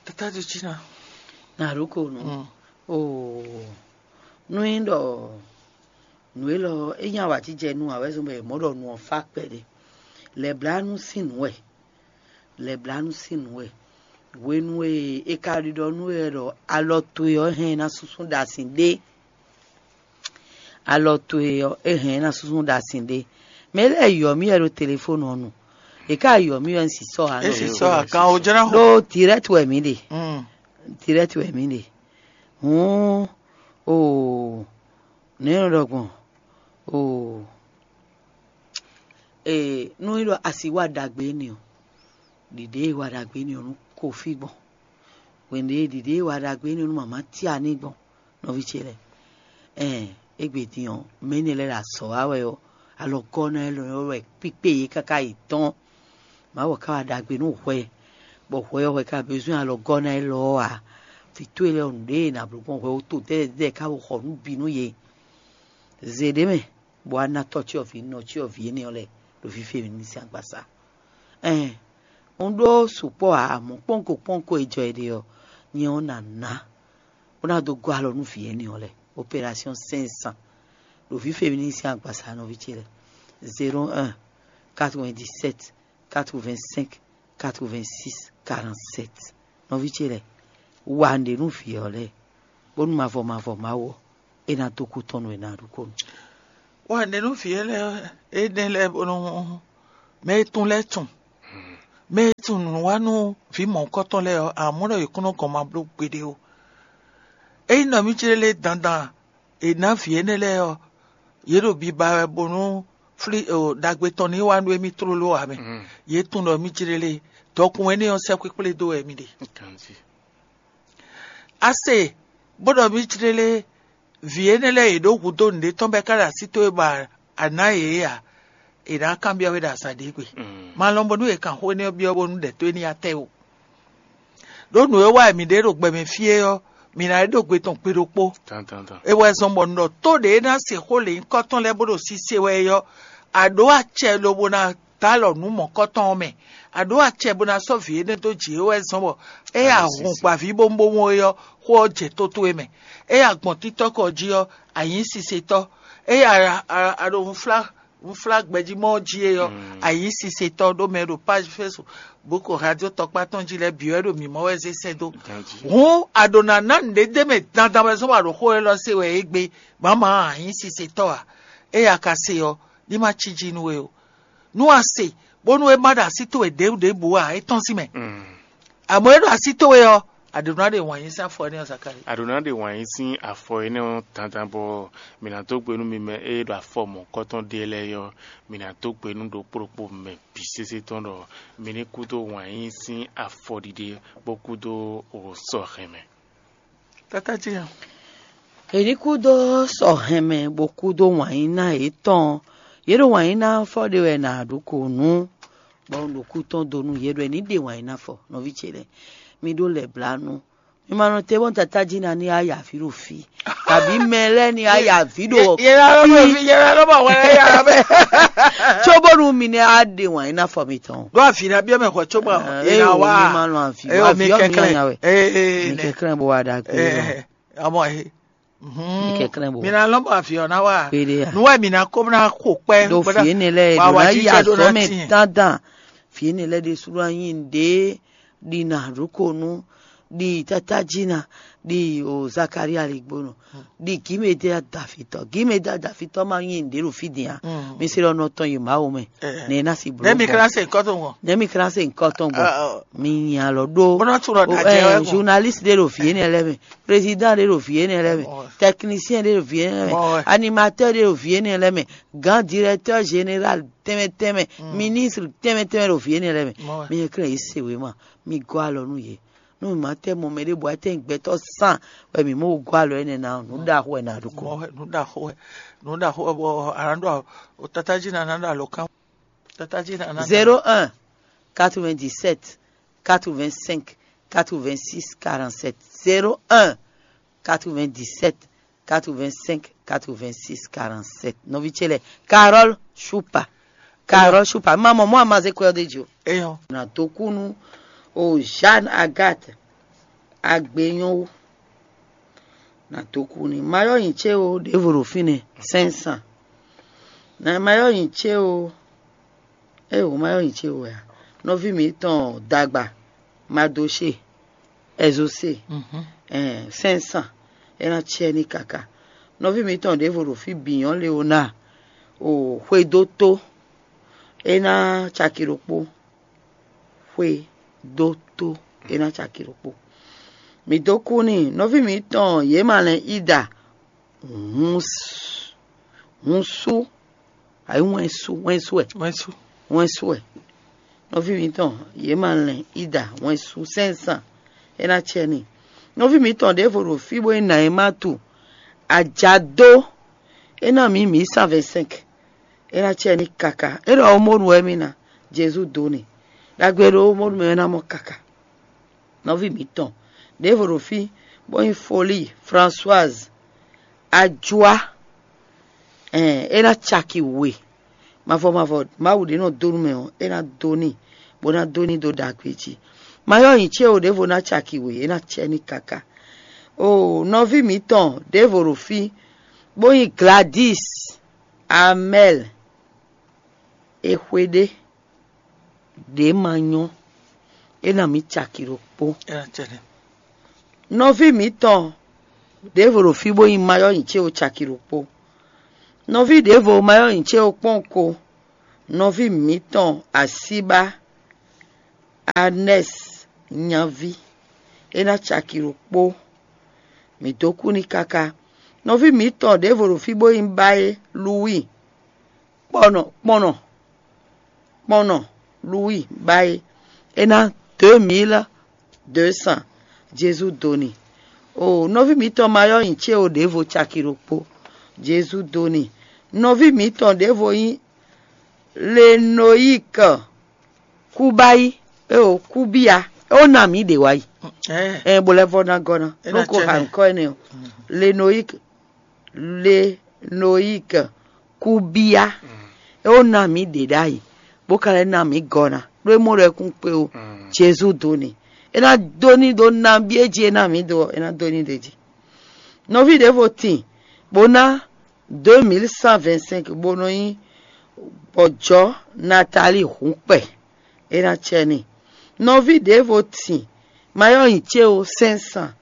Tata ɖo cí ná. Nǎ ɖó ko nǔ. Oo, nú é ɖɔ nǔ élɔ́ é nyí awǎjijɛ nú ǎ wɛ zɔ́n bɔ è mɔ̌ ɖɔ nǔ ɔ́ fá kpɛɖé. Lɛ̌blánú sín nǔ wɛ. Lɛ̌blánú sín nǔ wɛ. Hwenu e è ka ɖiɖɔ nú we wɛ ɖɔ alɔ towe ɔ́ hɛn ná súnsún ɖo asin ɖé. Alɔ towe ɔ́, é hɛn ná súnsún ɖo asin ɖé. Mɛ lɛ́ɛ yɔ mì wɛ ɖo telefónu ɔ́ nu. È ka yɔ mì wɛ un si sɔ́ ǎ. É si sɔ́ ǎ kan o jɛ́n ná xo. Ɖó direct wɛ mǐ ɖe. Mm. Direct wɛ mǐ ɖe. Hǔn o nɛ̌ nɔ ɖɔ gbɔn? O ee nú é ɖɔ asi wá ɖagbe énɛ́ ɔ́, ɖiɖě e wa ɖagbe énɛ́ ɔ́ nú Kofi gbɔn. Hwenu e ɖiɖě e wa ɖagbe énɛ́ ɔ́ nú mama Tiani gbɔn, nɔví ce lɛ́ɛ. Ɛn, égbé din ɔ́, mɛ énɛ́ lɛ́ɛ ɖo azɔ̌ wa wɛ ɔ́, alɔgɔ́ ná élɔ́ ɔ́ wɛ kpíkpé yě káká yi tɔ́n. Mawu ka wa ɖagbe nú hwɛ, bɔ hwɛ ɔ́ hwɛ ka bezwɛ́n alɔgɔ́ ná élɔ́ ɔ́ ǎ. Vǐ towe lɛ́ɛ ɔ́, nǔɖé e nǎ bló gbɔn hwɛ wú to dɛ́dɛ́ ka wo xɔ nǔ bǐ nú yě. Zě ɖé mɛ, bɔ wá ná tɔ́ cyɔvǐ nɔ cyɔvǐ énɛ́ ɔ́ lɛ́ɛ ɖo fífí e mǐ ní sín agbaza. Ɛn, un ɖó sukpɔ́ ǎ, amɔ̌ kpɔ́nko kpɔ́nko e jɔ è ɖe ɔ́, nyɛ ɔ́ ná ná bó ná dó gɔ́ alɔ nú vǐ énɛ́ ɔ́ lɛ́ɛ. Opération cinq cents ɖo fífí e mǐ ní sín agbaza nɔví ce lɛ́ɛ. Zéro un, quatre-vingt-dix-sept, quatre-vingt-cinq, quatre-vingt-six, quarante-sept. Nɔví ce lɛ́ɛ, wa nǔɖé nú vǐ ɔ́ lɛ́ɛ, bónú mavɔ mavɔ Mawu ɔ́, é ná dó kú tɔn nú we ná ɖu kó nu. Wa nǔɖé nú vǐ ɔ́ lɛ́ɛ, énɛ́ lɛ́ɛ bónú mɛ e tún lɛ́ɛ tunwun. Mɛ e tunwun nǔ wa nú vǐ mɔ̌hunkɔtɔn lɛ́ɛ ɔ́, amɔ̌ ɖɔ yě kún nɔ gɔn ma bló gbeɖé ó. Ényí nɔ mì jlé lé dandan è nǎ vǐ énɛ́ lɛ́ɛ ɔ́, yě ɖo biba wɛ bónú flí ɖagbe tɔn ní wá nú émí tlóló ǎ mɛ. Yě tunwun ɖɔ mì jlé lé, dɔkun énɛ́ ɔ́ sɛ́ kpékplé dó wɛ mì ɖe. A se, bó ɖɔ mì jlé lé, vǐ énɛ́ lɛ́ɛ yě ɖó hudó nǔɖé tɔn bɔ é ka ɖo así towe bɔ a nǎ yě ǎ, è nǎ kanbyɔ́ we ɖo azǎn ɖě gbe. Ma lɔn bónú è kan xó énɛ́ ɔ́ byɔ́ bónú ɖɛ towe ní yi atɛ ó. Ɖó nǔ e wa wɛ mǐ ɖe ɖo gbɛ mɛ fí é ɔ́, mǐ ná ɖe ɖo gbe tɔn gbe ɖokpó. É wɛ zɔ́n bɔ un ɖɔ tó ɖě e ná se xó lě nyǐkɔ tɔn lɛ́ɛ bó ɖo sise wɛ é ɔ́, a ɖǒ acɛ lobo ná dó alɔ nǔ mɔ̌kɔtɔn ɔ́ mɛ. A ɖǒ acɛ bó ná sɔ́ vǐ énɛ́ dó jǐ é wɛ zɔ́n bɔ é ya hun gbǎví bómúbómú é ɔ́, xó ɔ́ jɛ tó towe mɛ. É ya gbɔn títɔ́ kɔ jí ɔ́, a nyǐ sisetɔ́. É ya a ɖo hunflá hunflá gbɛjímɔ jí é ɔ́, a nyǐ sisetɔ́ ɖó mɛ ɖo page Facebook, radio tɔkpá tɔn jí lɛ́ɛ bǐ wɛ ɖo mǐ mɔ wɛ zé sɛ́ dó. Hǔn a ɖǒ ná ná nǔɖé d'é mɛ dandan wɛ zɔ́n bɔ a ɖo xó élɔ́ se wɛ é gbé, mǎmá a nyǐ sisetɔ́ ǎ. Éyɛ́ a ka se ɔ́, ní ma cí jí nú we ó. Nú a se, bónú é má ɖo así towe ɖěbǔ ɖěbǔ ǎ, é tɔ́n sín mɛ. Amɔ̌ é ɖo así towe ɔ́, a ɖǒ ná ɖe wǎn yí sín afɔ énɛ́ ɔ́, Zakalíi. A ɖǒ ná ɖe wǎn yí sín afɔ énɛ́ ɔ́ dandan bɔ mǐ ná dó gbe nú mi mɛ e ɖo afɔ mɔ̌hunkɔtɔn ɖe lɛ́ɛ é ɔ́, mǐ ná dó gbe nú ɖokpó ɖokpó mɛ bǐ sésé tɔn ɖɔ mi ní kú dó wǎn yí sín afɔɖiɖe bó kú dó sɔ hɛn mɛ. Tata ce ɔ́, È ní kú dó sɔ hɛn mɛ bó kú dó wǎn yí ná yětɔn. Yě ɖo wǎn yí ná fɔ ɖe wɛ nǎ ɖu kǒ nú, bɔ un ɖo kú tɔn dó nú yě ɖɔ è ní ɖe wǎn yí ná fɔ. Nɔví ce lɛ́ɛ, mi ɖó lɛ̌ blá nú. Mi ma nɔ te bɔ tata jí ná ní á ya vǐ ɖo fí, kabǐ mɛ lɛ́ɛ ní á ya vǐ ɖo Yɛ lɔ bɔ fi yɛ lɔ bɔ wɛ yɛ lɔ bɛ. Có bónú mi ní á ɖe wǎn yí ná fɔ mitɔn. Ɖó avi ná biɔ mɛ xɔ có bɔ Ah, yɛ eh, ná o, wá. Mi ma nɔ avi Eh, o, mi avi ɔ mi kɛklɛ. Nya wɛ. Eh, eh, Mi nɛ. Kɛklɛ bó wa ɖagbe. Eh, eh, ọmọ yìí. Mhm. Mi kɛklɛ bó. Mi ná lɔ bɔ avi ɔ ná wá. Kpéɖé a. Nuwɛ mi ná kó ná xo kpɛ. Ɖo fie ne lɛ Wa ɖo wa ná jí yi kɛ ɖó ná azɔ mɛ tiɛ. Dandan. Fie ne lɛ ɖe su ɖo anyi ɖe ɖi na ɖokonu ɖi tata jí na ɖi o Zakaria ligbonu ɖi gímedé adafitɔ gímedé adafitɔ ma nyi ɖe ɖo fi dia. Mi se ɖɔ nɔ tɔn yi Mawu mɛ. Ne na si blo. Ne mi kla se nkɔ to ŋɔ. Ne mi kla se nkɔ tɔn gbɔ. Mi nya lɔ ɖo. Bɔnɔ tu lɔ da jɛ wɛ gbɔ. Journaliste ɖe ɖo fie ne lɛ mɛ, président ɖe ɖo fie ne lɛ mɛ, technicien ɖe ɖo fie ne lɛ mɛ, animateur ɖe ɖo fie ne lɛ mɛ, grand directeur général tɛmɛ tɛmɛ, ministre tɛmɛ tɛmɛ ɖo fie ne lɛ mɛ. Mi yɛ kle yi se wema, mi gɔ alɔ nu ye. Nu ma tɛ mɔ mɛ ɖe bɔ atɛ gbɛtɔ san wɛ mi mo gɔ alɔ ene na nu da ho na ɖo ko. Nu da ho nu da ho bɔ aran do tata ji na na da lo kan. Tata ji na na. Zéro un, quatre-vingt-dix-sept, quatre-vingt-cinq, quatre-vingt-six, quarante-sept. Zéro un, quatre-vingt-dix-sept, quatre-vingt-cinq, quatre-vingt-six, quarante-sept. Nɔvi ce lɛ, Carole Choupa. Carole Choupa. Maman, moi, ma zé quoi de Dieu. Eyo. Na tokunu o Jeanne Agathe Agbenyon. Na tokuni. Mayo yin che o, devoro fine, cinq cents. Na mayo yin che o. E o mayo yin che o ya. Nɔvi mi tɔn dagba, Madoche, Exaucé, cinq cents. É ná cɛ ní kaka. Nɔví mǐtɔn ɖěvo ɖo fí bǐ nyɔ́ Leona, o xwedótó, é ná caki ɖokpó. Xwedótó, é ná caki ɖokpó. Mǐ dó kú n'i. Nɔví mǐtɔn yě ma lɛn Ida, hun s- hun sú, ayǐ wɛn sú, wɛn sú wɛ. Wɛn sú. Wɛn sú wɛ. Nɔví mǐtɔn yě ma lɛn Ida, wɛn sú, cinq cents. É ná cɛ n'i. Nɔví mǐtɔn ɖěvo ɖo fí bó nyí Nayimatu, ajadó, é ná mǐ mǐ cent vingt-cinq. É ná cɛ n'i kaka. É ɖɔ omonu wɛ mì ná. Jezu dó n'i. Ɖagbe ɖo omonu mɛ é ná mɔ kaka. Nɔví mǐtɔn ɖěvo ɖo fí, bó nyí Folí Françoise, Ajua, ɛn é ná caki we. Mavɔ mavɔ Mawu ɖé nɔ dó nú mɛ ɔ́, é ná dó n'i, bó ná dó n'i dó ɖagbe jí. Mayɔ́ nyi céwo ɖěvo ná caki we, é ná cɛ n'i kaka. O nɔví mǐtɔn ɖěvo ɖo fí, bó nyí Gladys Amɛl, è xwe ɖé ɖě ma nyɔ́, é ná mǐ caki ɖokpó. Nɔví mǐtɔn ɖěvo ɖo fí bó nyí mayɔ́ nyi céwo caki ɖokpó. Nɔví ɖěvo mayɔ́ nyi céwo kpɔ́n ko. Nɔví mǐtɔn asíbá Anɛ́si nyaví, é ná caki ɖokpó. Mǐ dó kú n'i káká. Nɔví mǐtɔn ɖěvo ɖo fí bó nyí Báyé Luwíi, kpɔnɔ kpɔnɔ kpɔnɔ Luwíi Báyé, é ná deux mille deux cents. Jezu dó n'i. O nɔví mǐtɔn Mayɔ́ nyi céwo ɖěvo caki ɖokpó. Jezu dó n'i. Nɔví mǐtɔn ɖěvo nyí Lenoyík Kúbáyí, é o Kúbíya, é o ná mǐ ɖě wá yi. Ɛ bó lɛ́ vɔ́ ná gɔ́ ná. É ná Nú ko cɛ́ ha nɛ́. Nǔkɔ énɛ́ ɔ́, Lenoyík Lenoyík Kúbíya, é o ná mǐ ɖě ɖ'ayǐ, bó ka lɛ́ ná mǐ gɔ́ ná, ɖó é mɔ ɖɔ é kún kpé ó. Jezu dó n'i. É ná dó ní ɖó nabí é jí é ná mǐ dó ɔ́, é ná dó ní ɖě jí. Nɔví ɖěvo tin bó ná deux mille cent vingt-cinq bó nɔ nyí bɔ jɔ̌ Natalíi hǔnkpɛ, é ná cɛ n'i. Nɔví ɖěvo tin Mayɔ́ nyi céwo cinq cents.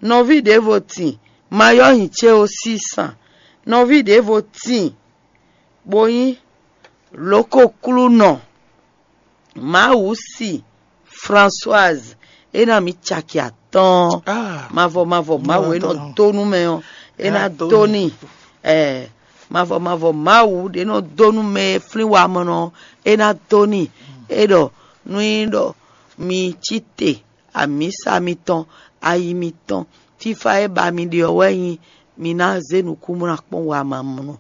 Nɔví ɖěvo tin Mayɔ́ nyi céwo six cents. Nɔví ɖěvo tin bó nyí lǒkoklúnɔ Mawǔsi Françoise, é ná mǐ caki atɔ́ɔ́n. Mavɔ mavɔ Mawu e nɔ dó nú mɛ ɔ́, é ná dó n'i. Ɛɛ, mavɔ mavɔ Mawu ɖě nɔ dó nú mɛ e flín wamɔnɔ ɔ́, é ná dó n'i. É ɖɔ nú nyí ɖɔ mi cí te, amǐsa mitɔn, ayi mitɔn, fífá e ba mi ɖe ɔ́ wɛ nyí mi ná zé nukúnmlá kpɔ́n wamamɔnɔ,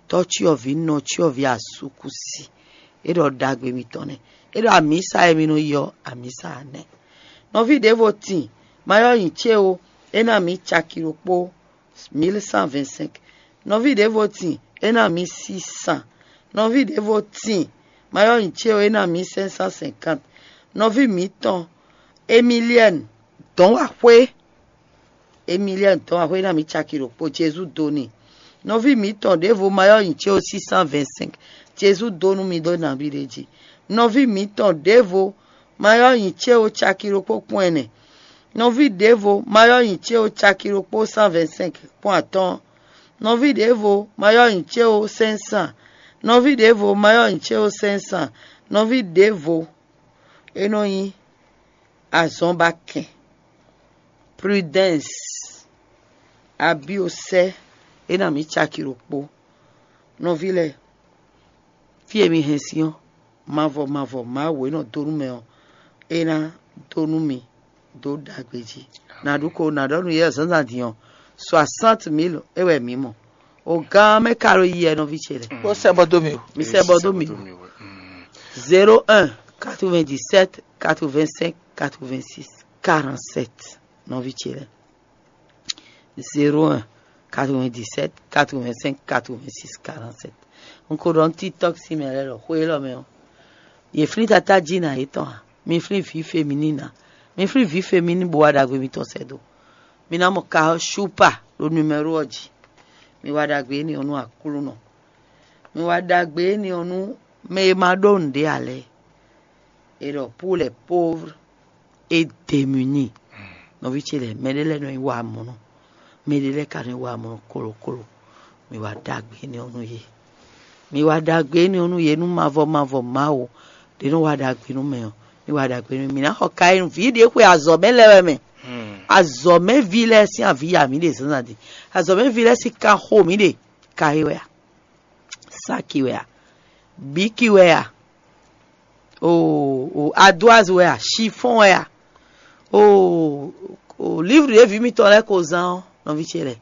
tɔ́ cyɔvǐ nɔ cyɔvǐ asúkúsi. É ɖɔ ɖagbe mitɔn nɛ́. É ɖɔ amǐsa e mi nɔ yi ɔ́, amǐsa ǎ nɛ́. Nɔví ɖěvo tin, ma ylɔ́ nyi ce ó, é ná mǐ caki ɖokpó, mil cent vingt-cinq. Nɔví ɖěvo tin, é ná mǐ six cents. Nɔví ɖěvo tin, ma ylɔ́ nyi ce ó, é ná mǐ cinq cent cinquante. Nɔví mǐtɔn Emiliɛ́ni dɔ̌n wa xwé. Emiliɛ́ni dɔ̌n wa xwé, é ná mǐ caki ɖokpó, Jezu dó n'i. Nɔví mǐtɔn ɖěvo ma ylɔ́ nyi ce ó, six cent vingt-cinq. Jezu dó nú mi ɖó nabí ɖé jí. Nɔví mǐtɔn ɖěvo ma ylɔ́ nyi ce ó, caki ɖokpó kpɔ́n ɛnɛ. Nɔví ɖěvo ma ylɔ́ nyi ce ó, caki ɖokpó cent vingt-cinq kpɔ́n atɔ́ɔ́n. Nɔví ɖěvo ma ylɔ́ nyi ce ó, cinq cents. Nɔví ɖěvo ma ylɔ́ nyi ce ó, cinq cents. Nɔví ɖěvo é nɔ nyí azɔnbakɛn, Prudɛ́nsi, Abiosɛ́, é ná mǐ caki ɖokpó. Nɔví lɛ́ɛ, fí e mi hɛn sín ɔ́, mavɔ mavɔ Mawu e nɔ dó nú mɛ ɔ́, é ná dó nú mi dó ɖagbe jí. Nǎ ɖu ko nǎ ɖɔ nú yě zǎnzǎn din ɔ́, soixante mille é wɛ mǐ mɔ. O gán mɛ ka ɖo yi wɛ, nɔví ce lɛ́ɛ? Ó sɛ bɔ dó mi o. Mi sɛ bɔ dó mi. Zéro un, quatre-vingt-dix-sept, quatre-vingt-cinq, quatre-vingt-six, quarante-sept, nɔví ce lɛ́ɛ. Zéro un, quatre-vingt-dix-sept, quatre-vingt-cinq, quatre-vingt-six, quarante-sept. Un ko ɖɔ nú TikTok sín mɛ lɛ́ɛ ɖɔ xwe élɔ́ mɛ ɔ́, yě flín tatá jí ná yětɔn ǎ. Mi flín vǐ feminin ná. Mi flín vǐ feminin bó wá ɖagbe mitɔn sɛ́ dó. Mi ná mɔ Kaɔ́ Shúpa ɖo numɛ́ro ɔ́ jí. Mi wá ɖagbe énɛ́ ɔ́ nú Aklúnɔ. Mi wá ɖagbe énɛ́ ɔ́ nú mɛ e ma ɖó nǔɖé ǎ lɛ́ɛ. È ɖɔ pour les pauvres et démunis. Nɔví ce lɛ́ɛ, mɛɖé lɛ́ɛ nɔ nyi wamɔnɔ, mɛɖé lɛ́ɛ ka nɔ nyi wamɔnɔ kolokolo. Mi wá ɖagbe énɛ́ ɔ́ nú yě. Mi wá ɖagbe énɛ́ ɔ́ nú yě nú mavɔ mavɔ Mawu ɖě nɔ wá ɖagbe nú mɛ ɔ́. Mi wá ɖagbe nú mì ná xɔ ka e nú vǐ ɖě xwe azɔ̌ mɛ lɛ́ɛ wɛ mɛ. Azɔ̌ mɛ ví lɛ́ɛ sín avǐ ya mǐ ɖe zǎnzǎn din. Azɔ̌ mɛ ví lɛ́ɛ sín kan xo mǐ ɖe. Ka e wɛ a? Saki wɛ a? Biki wɛ a? O o adoazi wɛ a? Shifɔn wɛ a? O o livre ɖě vǐ mitɔn lɛ́ɛ ko zán ɔ́, nɔví ce lɛ́ɛ,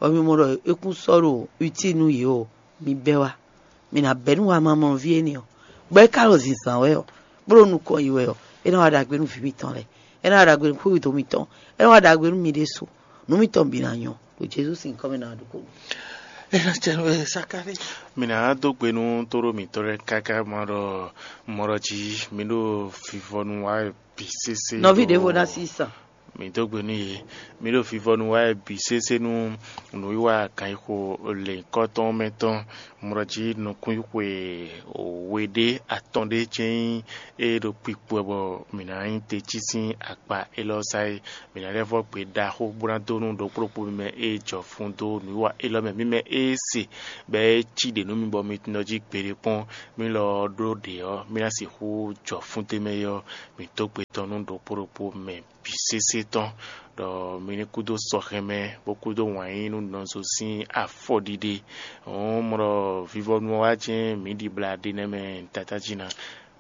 bɔ mi mɔ ɖɔ é kún sɔ́ ɖo utile nú yě o, mi bɛ́ wá. Mi ná bɛ́ nú wamamɔnɔví énɛ́ ɔ́, bɔ é ka ɖo zǐnzán wɛ ɔ́, bó ɖo nukɔn yi wɛ ɔ́, é ná wá ɖagbe nú vǐ mitɔn lɛ́ɛ, é ná wá ɖagbe nú xwéwúdo mitɔn, é ná wá ɖagbe nú mi ɖésú, nǔ mitɔn bǐ ná nyɔ́. Ɖo Jezu sín nyǐkɔ mɛ ná wá ɖu kó. É ná cɛ nú ɛ Sakalée. Mi ná dó gbe nú tóɖó mǐtɔn lɛ́ɛ káká ma ɖɔ mɔ ɖɔ jí mi ɖo vivɔ nú wa bǐ sésé. Nɔví ɖěvo ná sí sàn. Mi dó gbe nú yě. Mi ɖo vivɔnu wá wɛ bǐ sésé nú nǔwiwa gǎnyixo lěhunkɔtɔn mɛ tɔn. Mlɔjí nukúnxwe we ɖé atɔn ɖé jɛ́n nyí ée ɖo kpikpo wɛ bɔ mǐ ná nyí te cí sín akpa élɔ́ sá é. Mǐ ná lɛ́ vɔ́ gbe ɖaxó bó ná dó nú ɖokpó ɖokpó mɛ e jɔ fun dó nǔwiwa élɔ́ mɛ. Mǐ mɛ e se bɔ é cí ɖě nú mi bɔ mi tunɔ jí gbeɖé kpɔ́n, mí lɔ ɔ́ ɖó ɖě ɔ́, mí ná sixú jɔ fún d'é mɛ é ɔ́, mǐ dó gbe tɔn nú ɖokpó ɖokpó mɛ bǐ sésé tɔn, ɖɔ mi ní kúdó sɔxɛmɛ, bó kúdó wǎn yí nú nɔzo sín afɔɖiɖe. Hǔn mɔ ɖɔ vivɔnu ɔ́ wá jɛ́n mǐ ɖibla ɖe nɛ́ mɛ tatá jí ná.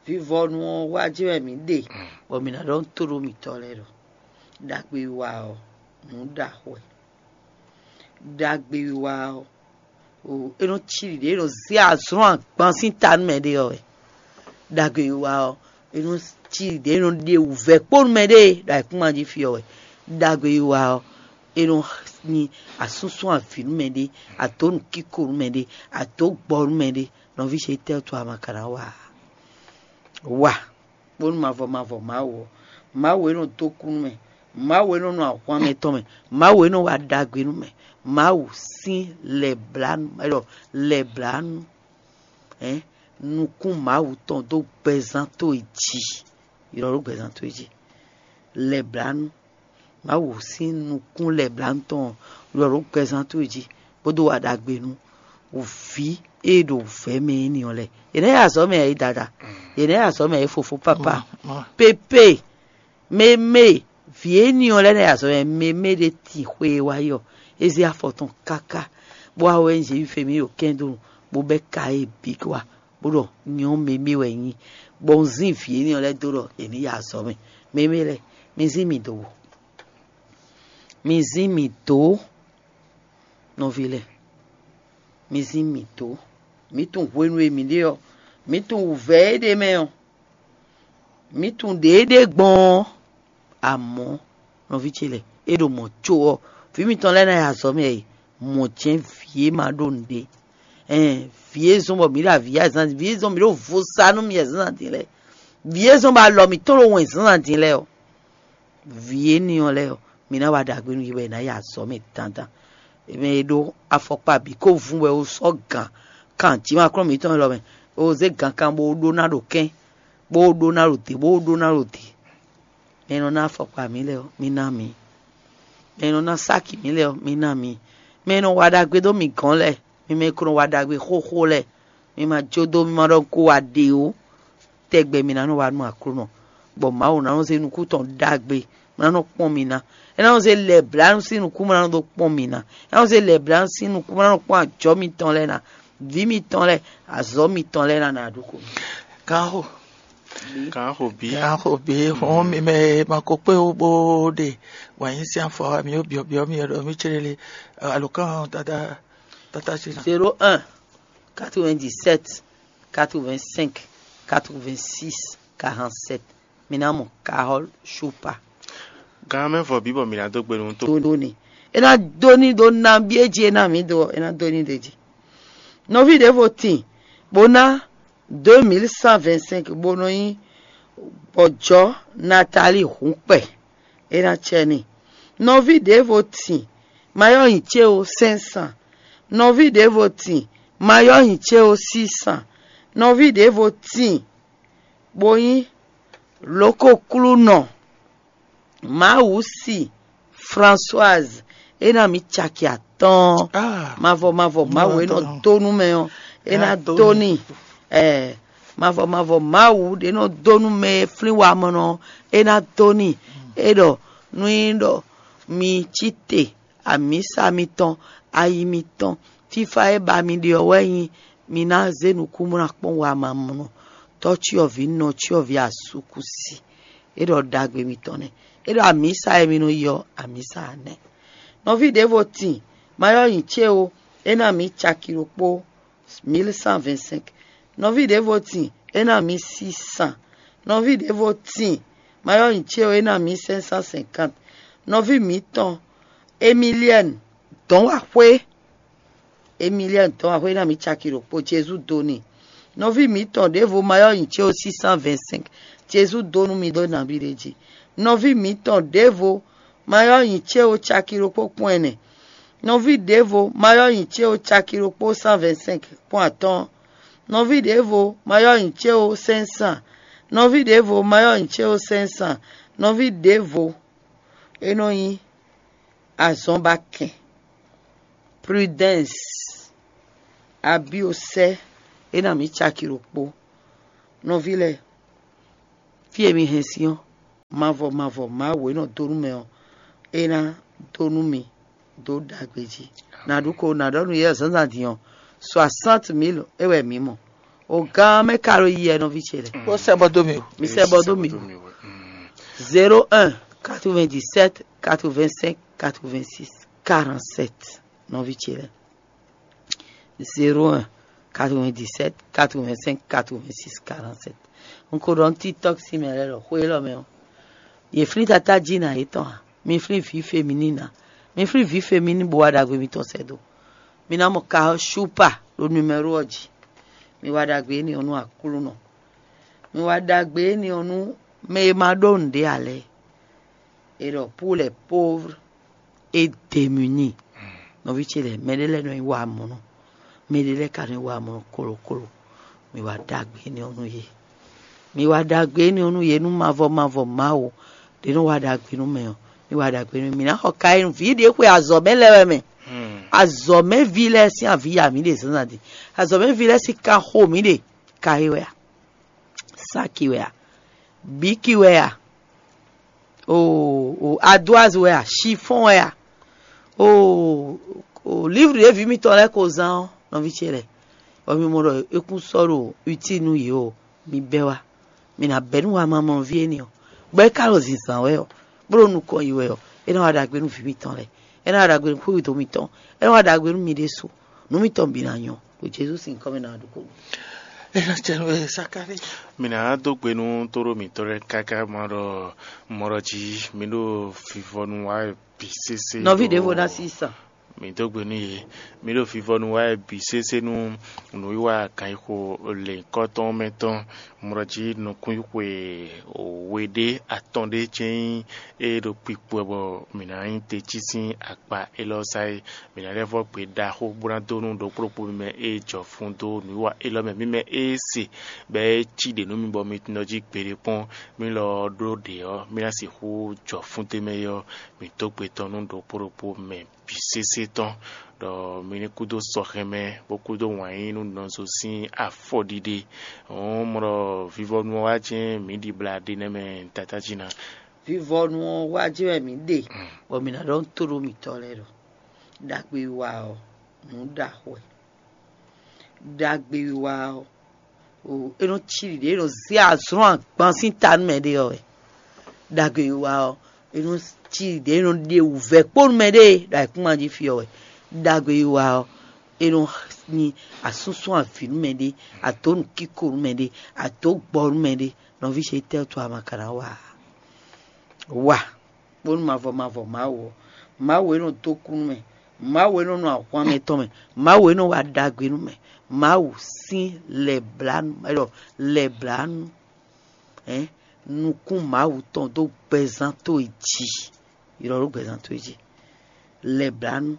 Vivɔnu ɔ́ wá jɛ́n wɛ mǐ ɖe, bɔ mǐ ná ɖɔ nú tóɖó mǐtɔn lɛ́ɛ ɖɔ ɖagbe wiwa ɔ́, nǔ ɖaxó wɛ. Ɖagbe wiwa ɔ́, o, é nɔ cí ɖiɖe, é nɔ zé azɔn agban sín ta nú mɛ ɖé ɔ́ wɛ. Ɖagbe wiwa ɔ́, é nɔ cí ɖiɖe, é nɔ ɖe wǔvɛ́ kpó nú mɛ ɖé ɖo ayǐkúngban jí fí ɔ́ wɛ. Ɖagbe wiwa ɔ́, é nɔ nyi asúnsún avǐ nú mɛ ɖé, adǒ nǔkíko nú mɛ ɖé, adǒ gbɔ nú mɛ ɖé. Nɔví ce tɛ́ wú a ma ka ná wa ǎ? Wa bónú mavɔ mavɔ Mawu ɔ́, Mawu e nɔ dó kú nú mɛ, Mawu e nɔ nɔ ahwan mɛtɔn mɛ, Mawu e nɔ wa ɖagbe nú mɛ, Mawu sín lɛblanu, é ɖɔ lɛblanu, hɛn, nukún Mawu tɔn dó gbɛzán towe jí, ylɔ́ ɖó gbɛzán towe jí, lɛblanu, Mawu sín nukún lɛblanu tɔn ylɔ́ ɖó gbɛzán towe jí, bó dó wa ɖagbe nú vǐ e ɖo vɛ̌ mɛ énɛ́ ɔ́ lɛ́ɛ. Yě nɛ́ ya azɔ̌ mɛ ǎ é dada, yě nɛ́ ya azɔ̌ mɛ ǎ é fofó pápá. Pépé, mémé, vǐ énɛ́ ɔ́ lɛ́ɛ nɛ́ ya azɔ̌ mɛ, mémé ɖé tin xwe e wá yi ɔ́, é zé afɔ tɔn káká, bó wá wɛ nyí Zěwifemi ɖo kɛ́ndonu, bó bɛ́ ka e bǐ wá, bó ɖɔ nyɔ̌ mémé wɛ nyí, bɔ un zín vǐ énɛ́ ɔ́ lɛ́ɛ dó ɖɔ è nǐ ya azɔ̌ mɛ. Mémé lɛ́ɛ, mi zín mì dó wò. Mi zín mì dǒ, nɔví lɛ́ɛ, mi zín mì dǒ. Mǐ tunwun hwenu e mǐ ɖe ɔ́, mǐ tunwun wǔvɛ́ e ɖ'é mɛ ɔ́, mǐ tunwun ɖě é ɖe gbɔn ɔ́. Amɔ̌, nɔví ce lɛ́ɛ, é ɖo mɔ̌ có ɔ́, vǐ mitɔn lɛ́ɛ ná yi azɔ̌ mɛ e mɔ̌ jɛ́n vǐ e ma ɖó nǔɖé. Ɛn, vǐ e zɔ́n bɔ mǐ ɖo avǐ ya zán, vǐ e zɔ́n mǐ ɖo vo sa nú mi zǎnzǎn din lɛ́ɛ, vǐ e zɔ́n bɔ alɔ mǐtɔn ɖo wɛn zǎnzǎn din lɛ́ɛ ɔ́, vǐ énɛ́ ɔ́ lɛ́ɛ ɔ́, mi ná wa ɖagbe nú yě wɛ è nǎ yi azɔ̌ mɛ dandan. Mɛ e ɖó afɔkpa bǐ ko vun wɛ ó sɔ́ gǎn kan jǐ ma kplɔ́n mǐtɔn élɔ́ mɛ, ó zé gǎnkan bó ɖó ná ɖo kɛ́n, bó ɖó ná ɖo dě, bó ɖó ná ɖo dě. Mɛ e nɔ ná afɔkpa mǐ lɛ́ɛ ɔ́, mi ná mǐ. Mɛ e nɔ ná sáki mǐ lɛ́ɛ ɔ́, mi ná mǐ. Mɛ e nɔ wa ɖagbe dó mǐ gɔ́n lɛ́ɛ, mi mɛ e ko nɔ wa ɖagbe xóxó lɛ́ɛ, mi ma jó dó, mi ma ɖɔ un ko wa ɖě ó. Tɛgbɛ mi ná nɔ wa nú Aklúnɔ, bɔ Mawu ná nɔ zé nukún tɔn ɖagbe, bó ná nɔ kpɔ́n mi ná. É ná nɔ zé lɛ̌blanu sín nukún, bó ná nɔ dó kpɔ́n mi ná. É ná nɔ zé lɛ̌blanu sín nukún, bó ná nɔ kpɔ́n ajɔ̌ mitɔn lɛ́ɛ ná, vǐ mitɔn lɛ́ɛ, azɔ̌ mitɔn lɛ́ɛ ná ná ɖu xo. Kanxo. Kanxo bí. Kanxo bí. Hɔn mi mɛ ma ko kpé wo bó ɖe wǎn yí sín afɔ mi ó byɔ́byɔ́ mi ɖɔ mí céɖélé alukán tata tata sí ná. Zéro un, quatre-vingt-dix-sept, quatre-vingt-cinq, quatre-vingt-six, quarante-sept. Mi ná mɔ Carole Choupa. Gan mɛ vɔ bí bɔ mi ná dó gbe nú tó. Dó ní. É ná dó ní ɖó nabí é jí é ná mǐ dó ɔ́, é ná dó ní ɖ'é jí. Nɔví ɖěvo tíin bó ná deux mille cent vingt-cinq bó nɔ nyí bɔjɔ́ Natali Hǔnkpɛ. É ná cɛ n'i. Nɔví ɖěvo tíin ma yɔ́ nyi cé ó cinq cents. Nɔví ɖěvo tíin ma yɔ́ nyi cé ó six cents. Nɔví ɖěvo tíin bó nyí lǒkoklúnɔ Mawusi Françoise, é ná mǐ caki atɔ́ɔ́n. Mavɔ mavɔ Mawu e nɔ dó nú mɛ ɔ́, é ná dó n'i. Ɛɛ, mavɔ mavɔ Mawu ɖě nɔ dó nú mɛ e flín wamɔnɔ ɔ́, é ná dó n'i. É ɖɔ nú nyí ɖɔ mi cí te, amǐsa mitɔn, ayi mitɔn, fífá e ba mi ɖe ɔ́ wɛ nyí mi ná zé nukún bó ná kpɔ́n wamamɔnɔ, tɔ́cyɔvǐ nɔcyɔvǐ asúkúsi. É ɖɔ ɖagbe mitɔn nɛ́. É ɖɔ amǐsa e mi nɔ yi ɔ́, amǐsa ǎ nɛ́. Nɔví ɖěvo tíin, ma yɔ́ nyi cé ó, é ná mǐ caki ɖokpó, mille cent vingt-cinq. Nɔví ɖěvo tíin, é ná mǐ six cents. Nɔví ɖěvo tíin, ma yɔ́ nyi cé ó, é ná mǐ cinq cent cinquante. Nɔví mǐtɔn Emilienne Dɔ̌nwaxwé, Emilienne Dɔ̌nwaxwé ná mǐ caki ɖokpó, Jezu dó n'i. Nɔví mǐtɔn ɖěvo ma yɔ́ nyi cé ó, six cent vingt-cinq. Jezu dó nú mi ɖó nabí ɖé jí. Nɔví mǐtɔn ɖěvo ma ylɔ́ nyǐ ce ó caki ɖokpó kpɔ́n ɛnɛ. Nɔví ɖěvo ma ylɔ́ nyǐ ce ó caki ɖokpó cent vingt-cinq kpɔ́n atɔ́ɔ́n. Nɔví ɖěvo ma ylɔ́ nyǐ ce ó cinq cents. Nɔví ɖěvo ma ylɔ́ nyǐ ce ó cinq cents. Nɔví ɖěvo é nɔ nyí azɔnbakɛn, prudence, abiosɛ, é ná mǐ caki ɖokpó. Nɔví lɛ́ɛ, fí e mi hɛn sín ɔ́, mavɔ mavɔ Mawu e nɔ dó nú mɛ ɔ́, é ná dó nú mi dó ɖagbe jí. Nǎ ɖu ko nǎ ɖɔ nú yě zǎnzǎn din ɔ́, soixante mille é wɛ mǐ mɔ. O gán mɛ ka ɖo yi wɛ nɔví ce lɛ́ɛ? Ó sɛ bɔ dó mi o. Mi sɛ bɔ dó mi. Zéro un, quatre-vingt-dix-sept, quatre-vingt-cinq, quatre-vingt-six, quarante-sept, nɔví ce lɛ́ɛ. Zéro un, quatre-vingt-dix-sept, quatre-vingt-cinq, quatre-vingt-six, quarante-sept. Un ko ɖɔ nú TikTok sín mɛ lɛ́ɛ ɖɔ xwé élɔ́ mɛ ɔ́, yě flín tatá jí nǎ yětɔn ǎ. Mi flín vǐ féminin ná. Mi flín vǐ féminin bó wá ɖagbe mitɔn sɛ́ dó. Mi ná mɔ ka ɔ́ Shúpa ɖo numɛ́ro ɔ́ jí. Mi wá ɖagbe énɛ́ ɔ́ nú Aklúnɔ. Mi wá ɖagbe énɛ́ ɔ́ nú mɛ e ma ɖó nǔɖé ǎ lɛ́ɛ. È ɖɔ pour les pauvres et démunis. Nɔví ce lɛ́ɛ, mɛɖé lɛ́ɛ nɔ nyi wa amɔ̌ nɔ, mɛɖé lɛ́ɛ ka nɔ nyi wa amɔ̌ nɔ kolokoló. Mi wá ɖagbe énɛ́ ɔ́ nú yě. Mi wá ɖagbe énɛ́ ɔ́ nú yě nú mavɔ mavɔ Mawu ɖě nɔ wá ɖagbe nú mɛ ɔ́, mi wá ɖagbe nú mi ná xɔ ka e nú vǐ ɖě xwe azɔ̌ mɛ lɛ́ɛ wɛ mɛ. Azɔ̌ mɛ ví lɛ́ɛ sín avǐ ya mǐ ɖe zǎnzǎn din. Azɔ̌ mɛ ví lɛ́ɛ sín kan xo mǐ ɖe ka é wɛ a? Saki wɛ a? Biki wɛ a? O o ardoise wɛ a? Chiffon wɛ a? O o livre ɖě vǐ mitɔn lɛ́ɛ ko zán ɔ́, nɔví ce lɛ́ɛ, bɔ mi mɔ ɖɔ é kún sɔ́ ɖo utile nú yě ɔ́, mi bɛ́ wá. Mi ná bɛ́ nú wamamɔnɔví énɛ́ ɔ́, bɔ é ka ɖo zǐnzán wɛ ɔ́, bó ɖo nukɔn yi wɛ ɔ́, é ná wa ɖagbe nú vǐ mitɔn lɛ́ɛ, é ná wa ɖagbe nú xwéwědó mitɔn, é ná wa ɖagbe nú mi ɖésú. Nǔ mitɔn bǐ ná nyɔ́ ɖo Jezu sín nyǐkɔ mɛ ná ɖu xó. É ná cɛ nú Sakáli. Mi ná dó gbe nú tóɖó mǐtɔn lɛ́ɛ káká ma ɖɔ mɔ ɖɔ jí mi ɖo vivɔnu wa wɛ bǐ sésé. Nɔví ɖěvo ná sí sa. Mi dó gbe nú yě. Mi ɖo vivɔnu wa wɛ bǐ sésé nú nǔwiwa gǎnyixo lěnyǐkɔ tɔn mɛ tɔn. Mɔ ɖɔ jí nukúnxwe we ɖé atɔn ɖé jɛ́n nyí ée ɖo kpikpo wɛ bɔ mǐ ná nyí te cí sín akpa élɔ́ sá é. Mǐ ná lɛ́ vɔ́ gbe ɖaxó bó ná dó nú ɖokpó ɖokpó mi mɛ e jɔ fun dó nǔwiwa élɔ́ mɛ, mi mɛ e se bɔ é cí ɖě nú mi bɔ mi tunɔ jí gbeɖé kpɔ́n. Mí lɔ ɔ́ ɖó ɖě ɔ́, mí ná sixú jɔ fún d'é mɛ é ɔ́, mǐ dó gbe tɔn nú ɖokpó ɖokpó mɛ bǐ sésé tɔn, ɖɔ mi ní kúdó sɔxɛmɛ, bó kúdó wǎn yí nú nɔzo sín afɔɖiɖe. Hɔ̌n mɔ ɖɔ vivɔnu ɔ́ wá jɛ́n mǐ ɖibla ɖe nɛ́ mɛ tatájí ná. Vivɔnu ɔ́ wá jɛ́n wɛ mǐ ɖe, bɔ mǐ ná ɖɔ nú tóɖó mǐtɔn lɛ́ɛ ɖɔ: Ɖagbewiwa ɔ́, nǔ ɖaxó wɛ. Ɖagbewiwa ɔ́, o é nɔ cí ɖiɖe, é nɔ zé azɔ̌n agban sín ta nú mɛɖé ɔ́ wɛ. Ɖagbewiwa ɔ́, é nɔ cí ɖiɖe, é nɔ ɖe wǔvɛ́ kpó nú mɛɖé ɖo ayǐkúngban jí fí ɔ́ wɛ. Ɖagbewiwa ɔ́, é nɔ nyi asúnsún avǐ nú mɛɖé, adǒ nǔkíko nú mɛɖé, adǒ gbɔ nú mɛɖé. Nɔví ce, tɛ́ wútu a ma ka ná wa ǎ? Wa bónú mavɔ mavɔ Mawu ɔ́, Mawu e nɔ dó kú nú mɛ, Mawu e nɔ nɔ ahwan mɛtɔn mɛ, Mawu e nɔ wa ɖagbe nú mɛ, Mawu sín lɛ̌blánú, é ɖɔ lɛ̌blánú, hɛn nukún Mawu tɔn dó gbɛzán towe jí, ylɔ́ ɖó gbɛzán towe jí, lɛ̌blánú,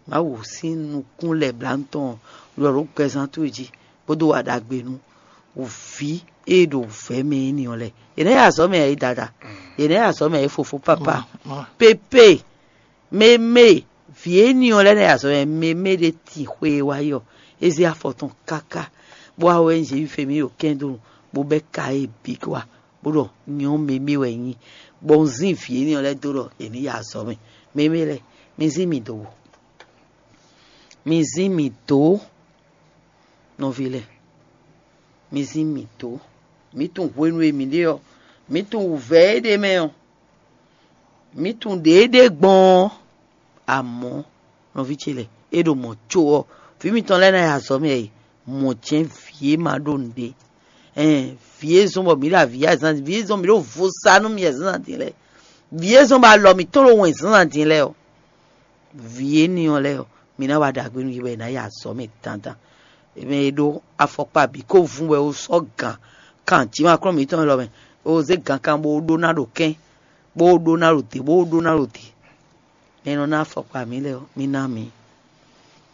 Mawu sín nukún lɛ̌blánú tɔn ylɔ́ ɖó gbɛzán towe jí, bó dó wa ɖagbe nú vǐ e ɖo vɛ̌ mɛ énɛ́ ɔ́ lɛ́ɛ. Yě nɛ́ ya azɔ̌ mɛ ǎ é dada, yě nɛ́ ya azɔ̌ mɛ ǎ é fofó pápá. Pépé, mémé, vǐ énɛ́ ɔ́ lɛ́ɛ nɛ́ ya azɔ̌ mɛ, mémé ɖé tin xwe e wá yi ɔ́, é zé afɔ tɔn káká, bó wá wɛ nyí Zěwifemi ɖo kɛ́ndonu, bó bɛ́ ka e bǐ wá, bó ɖɔ nyɔ̌ mémé wɛ nyí, bɔ un zín vǐ énɛ́ ɔ́ lɛ́ɛ dó ɖɔ è nǐ ya azɔ̌ mɛ. Mémé lɛ́ɛ, mi zín mì dǒ, mi zín mì dǒ, nɔví lɛ́ɛ, mi zín mì dǒ. Mǐ tunwun hwenu e mǐ ɖe ɔ́, mǐ tunwun wǔvɛ́ e ɖ'é mɛ ɔ́, mǐ tunwun ɖě e ɖe gbɔn ɔ́. Amɔ̌, nɔví ce lɛ́ɛ, é ɖo mɔ̌ có ɔ́, vǐ mitɔn lɛ́ɛ ná yi azɔ̌ mɛ e mɔ̌ jɛ́n vǐ e ma ɖó nǔɖé. Ɛn, vǐ e zɔ́n bɔ mǐ ɖo avǐ ya zǎn, vǐ e zɔ́n mǐ ɖo vo sa nú mi zǎnzǎn din lɛ́ɛ, vǐ e zɔ́n bɔ alɔ mǐtɔn ɖo wɛn zǎnzǎn din lɛ́ɛ ɔ́, vǐ énɛ́ ɔ́ lɛ́ɛ ɔ́, mi ná wá ɖagbe nú yě bɔ è nǎ yi azɔ̌ mɛ dandan. Mɛ e ɖó afɔkpa bǐ ko vun wɛ ó sɔ́ gǎn kan jǐ ma kplɔ́n mǐtɔn élɔ́ mɛ, ó zé gǎnkan bó ɖó ná ɖo kɛ́n. bó ɖó ná ɖo te, bó ɖó ná ɖo te. Mɛ e nɔ ná afɔkpa mǐ lɛ́ɛ ɔ́, mì ná mì.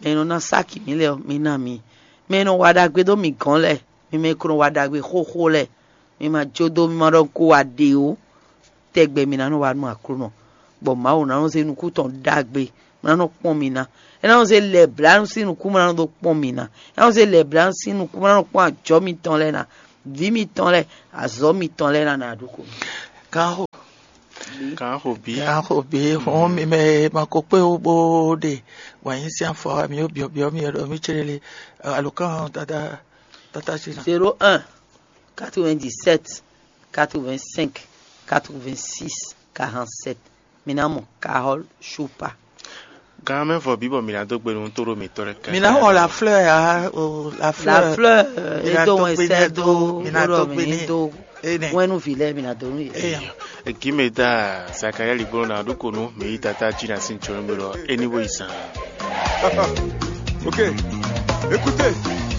Mɛ e nɔ ná sáki mǐ lɛ́ɛ ɔ́, mì ná mì. Mɛ e nɔ wa ɖagbe dó mì gɔ̌n lɛ́ɛ, mi mɛ e ko nɔ wa ɖagbe xóxó lɛ́ɛ, mi ma jó dó, mi ma ɖɔ un ko wa ɖě ó. Tɛgbɛ mi ná nɔ wa nú Aklúnɔ, bɔ Mawu ná nɔ zé nukún tɔn ɖagbe, bó ná nɔ kpɔ́n mi ná. É ná nɔ zé lɛ̌blánú sín nukún, bó ná nɔ dó kpɔ́n mi ná. É ná nɔ zé lɛ̌blánú sín nukún, bó ná nɔ kpɔ́n ajɔ̌ mitɔn lɛ́ɛ ná, vǐ mitɔn lɛ́ɛ, azɔ̌ mitɔn lɛ́ɛ ná ná ɖu ko. Kan xo Kan xo bí. Kan xo bí hɔn mi mɛ ma ko kpé wo bó ɖe wǎn yí sín afɔ mi ó byɔ̌byɔ́ mi ɖɔ mí céɖélé alǒkan tata tata sí ná. Zéro un, quatre-vingt-dix-sept, quatre-vingt-cinq, quatre-vingt-six, quarante-sept. Mi ná mɔ Carole Choupa. Gan mɛ vɔ bí bɔ mi ná dó gbe nú tó ɖo mǐtɔn lɛ́ɛ kɛkɛ. Mi ná xɔ la fleur ya o la La fleur. fleur, Mi e ná dó dó wọn gbe sɛ ní dó dó mi ná wúrɔ dó mi gbe ní ní. dó Ene. wɛnu vi lɛ mi ná dó nú yɛ. Eya. Ekí mɛ ta Zakaria ligbɔn na ɖó ko nú mi yi tata jí na sin tsɔn mi ɖɔ anyway san. Ok, écoutez.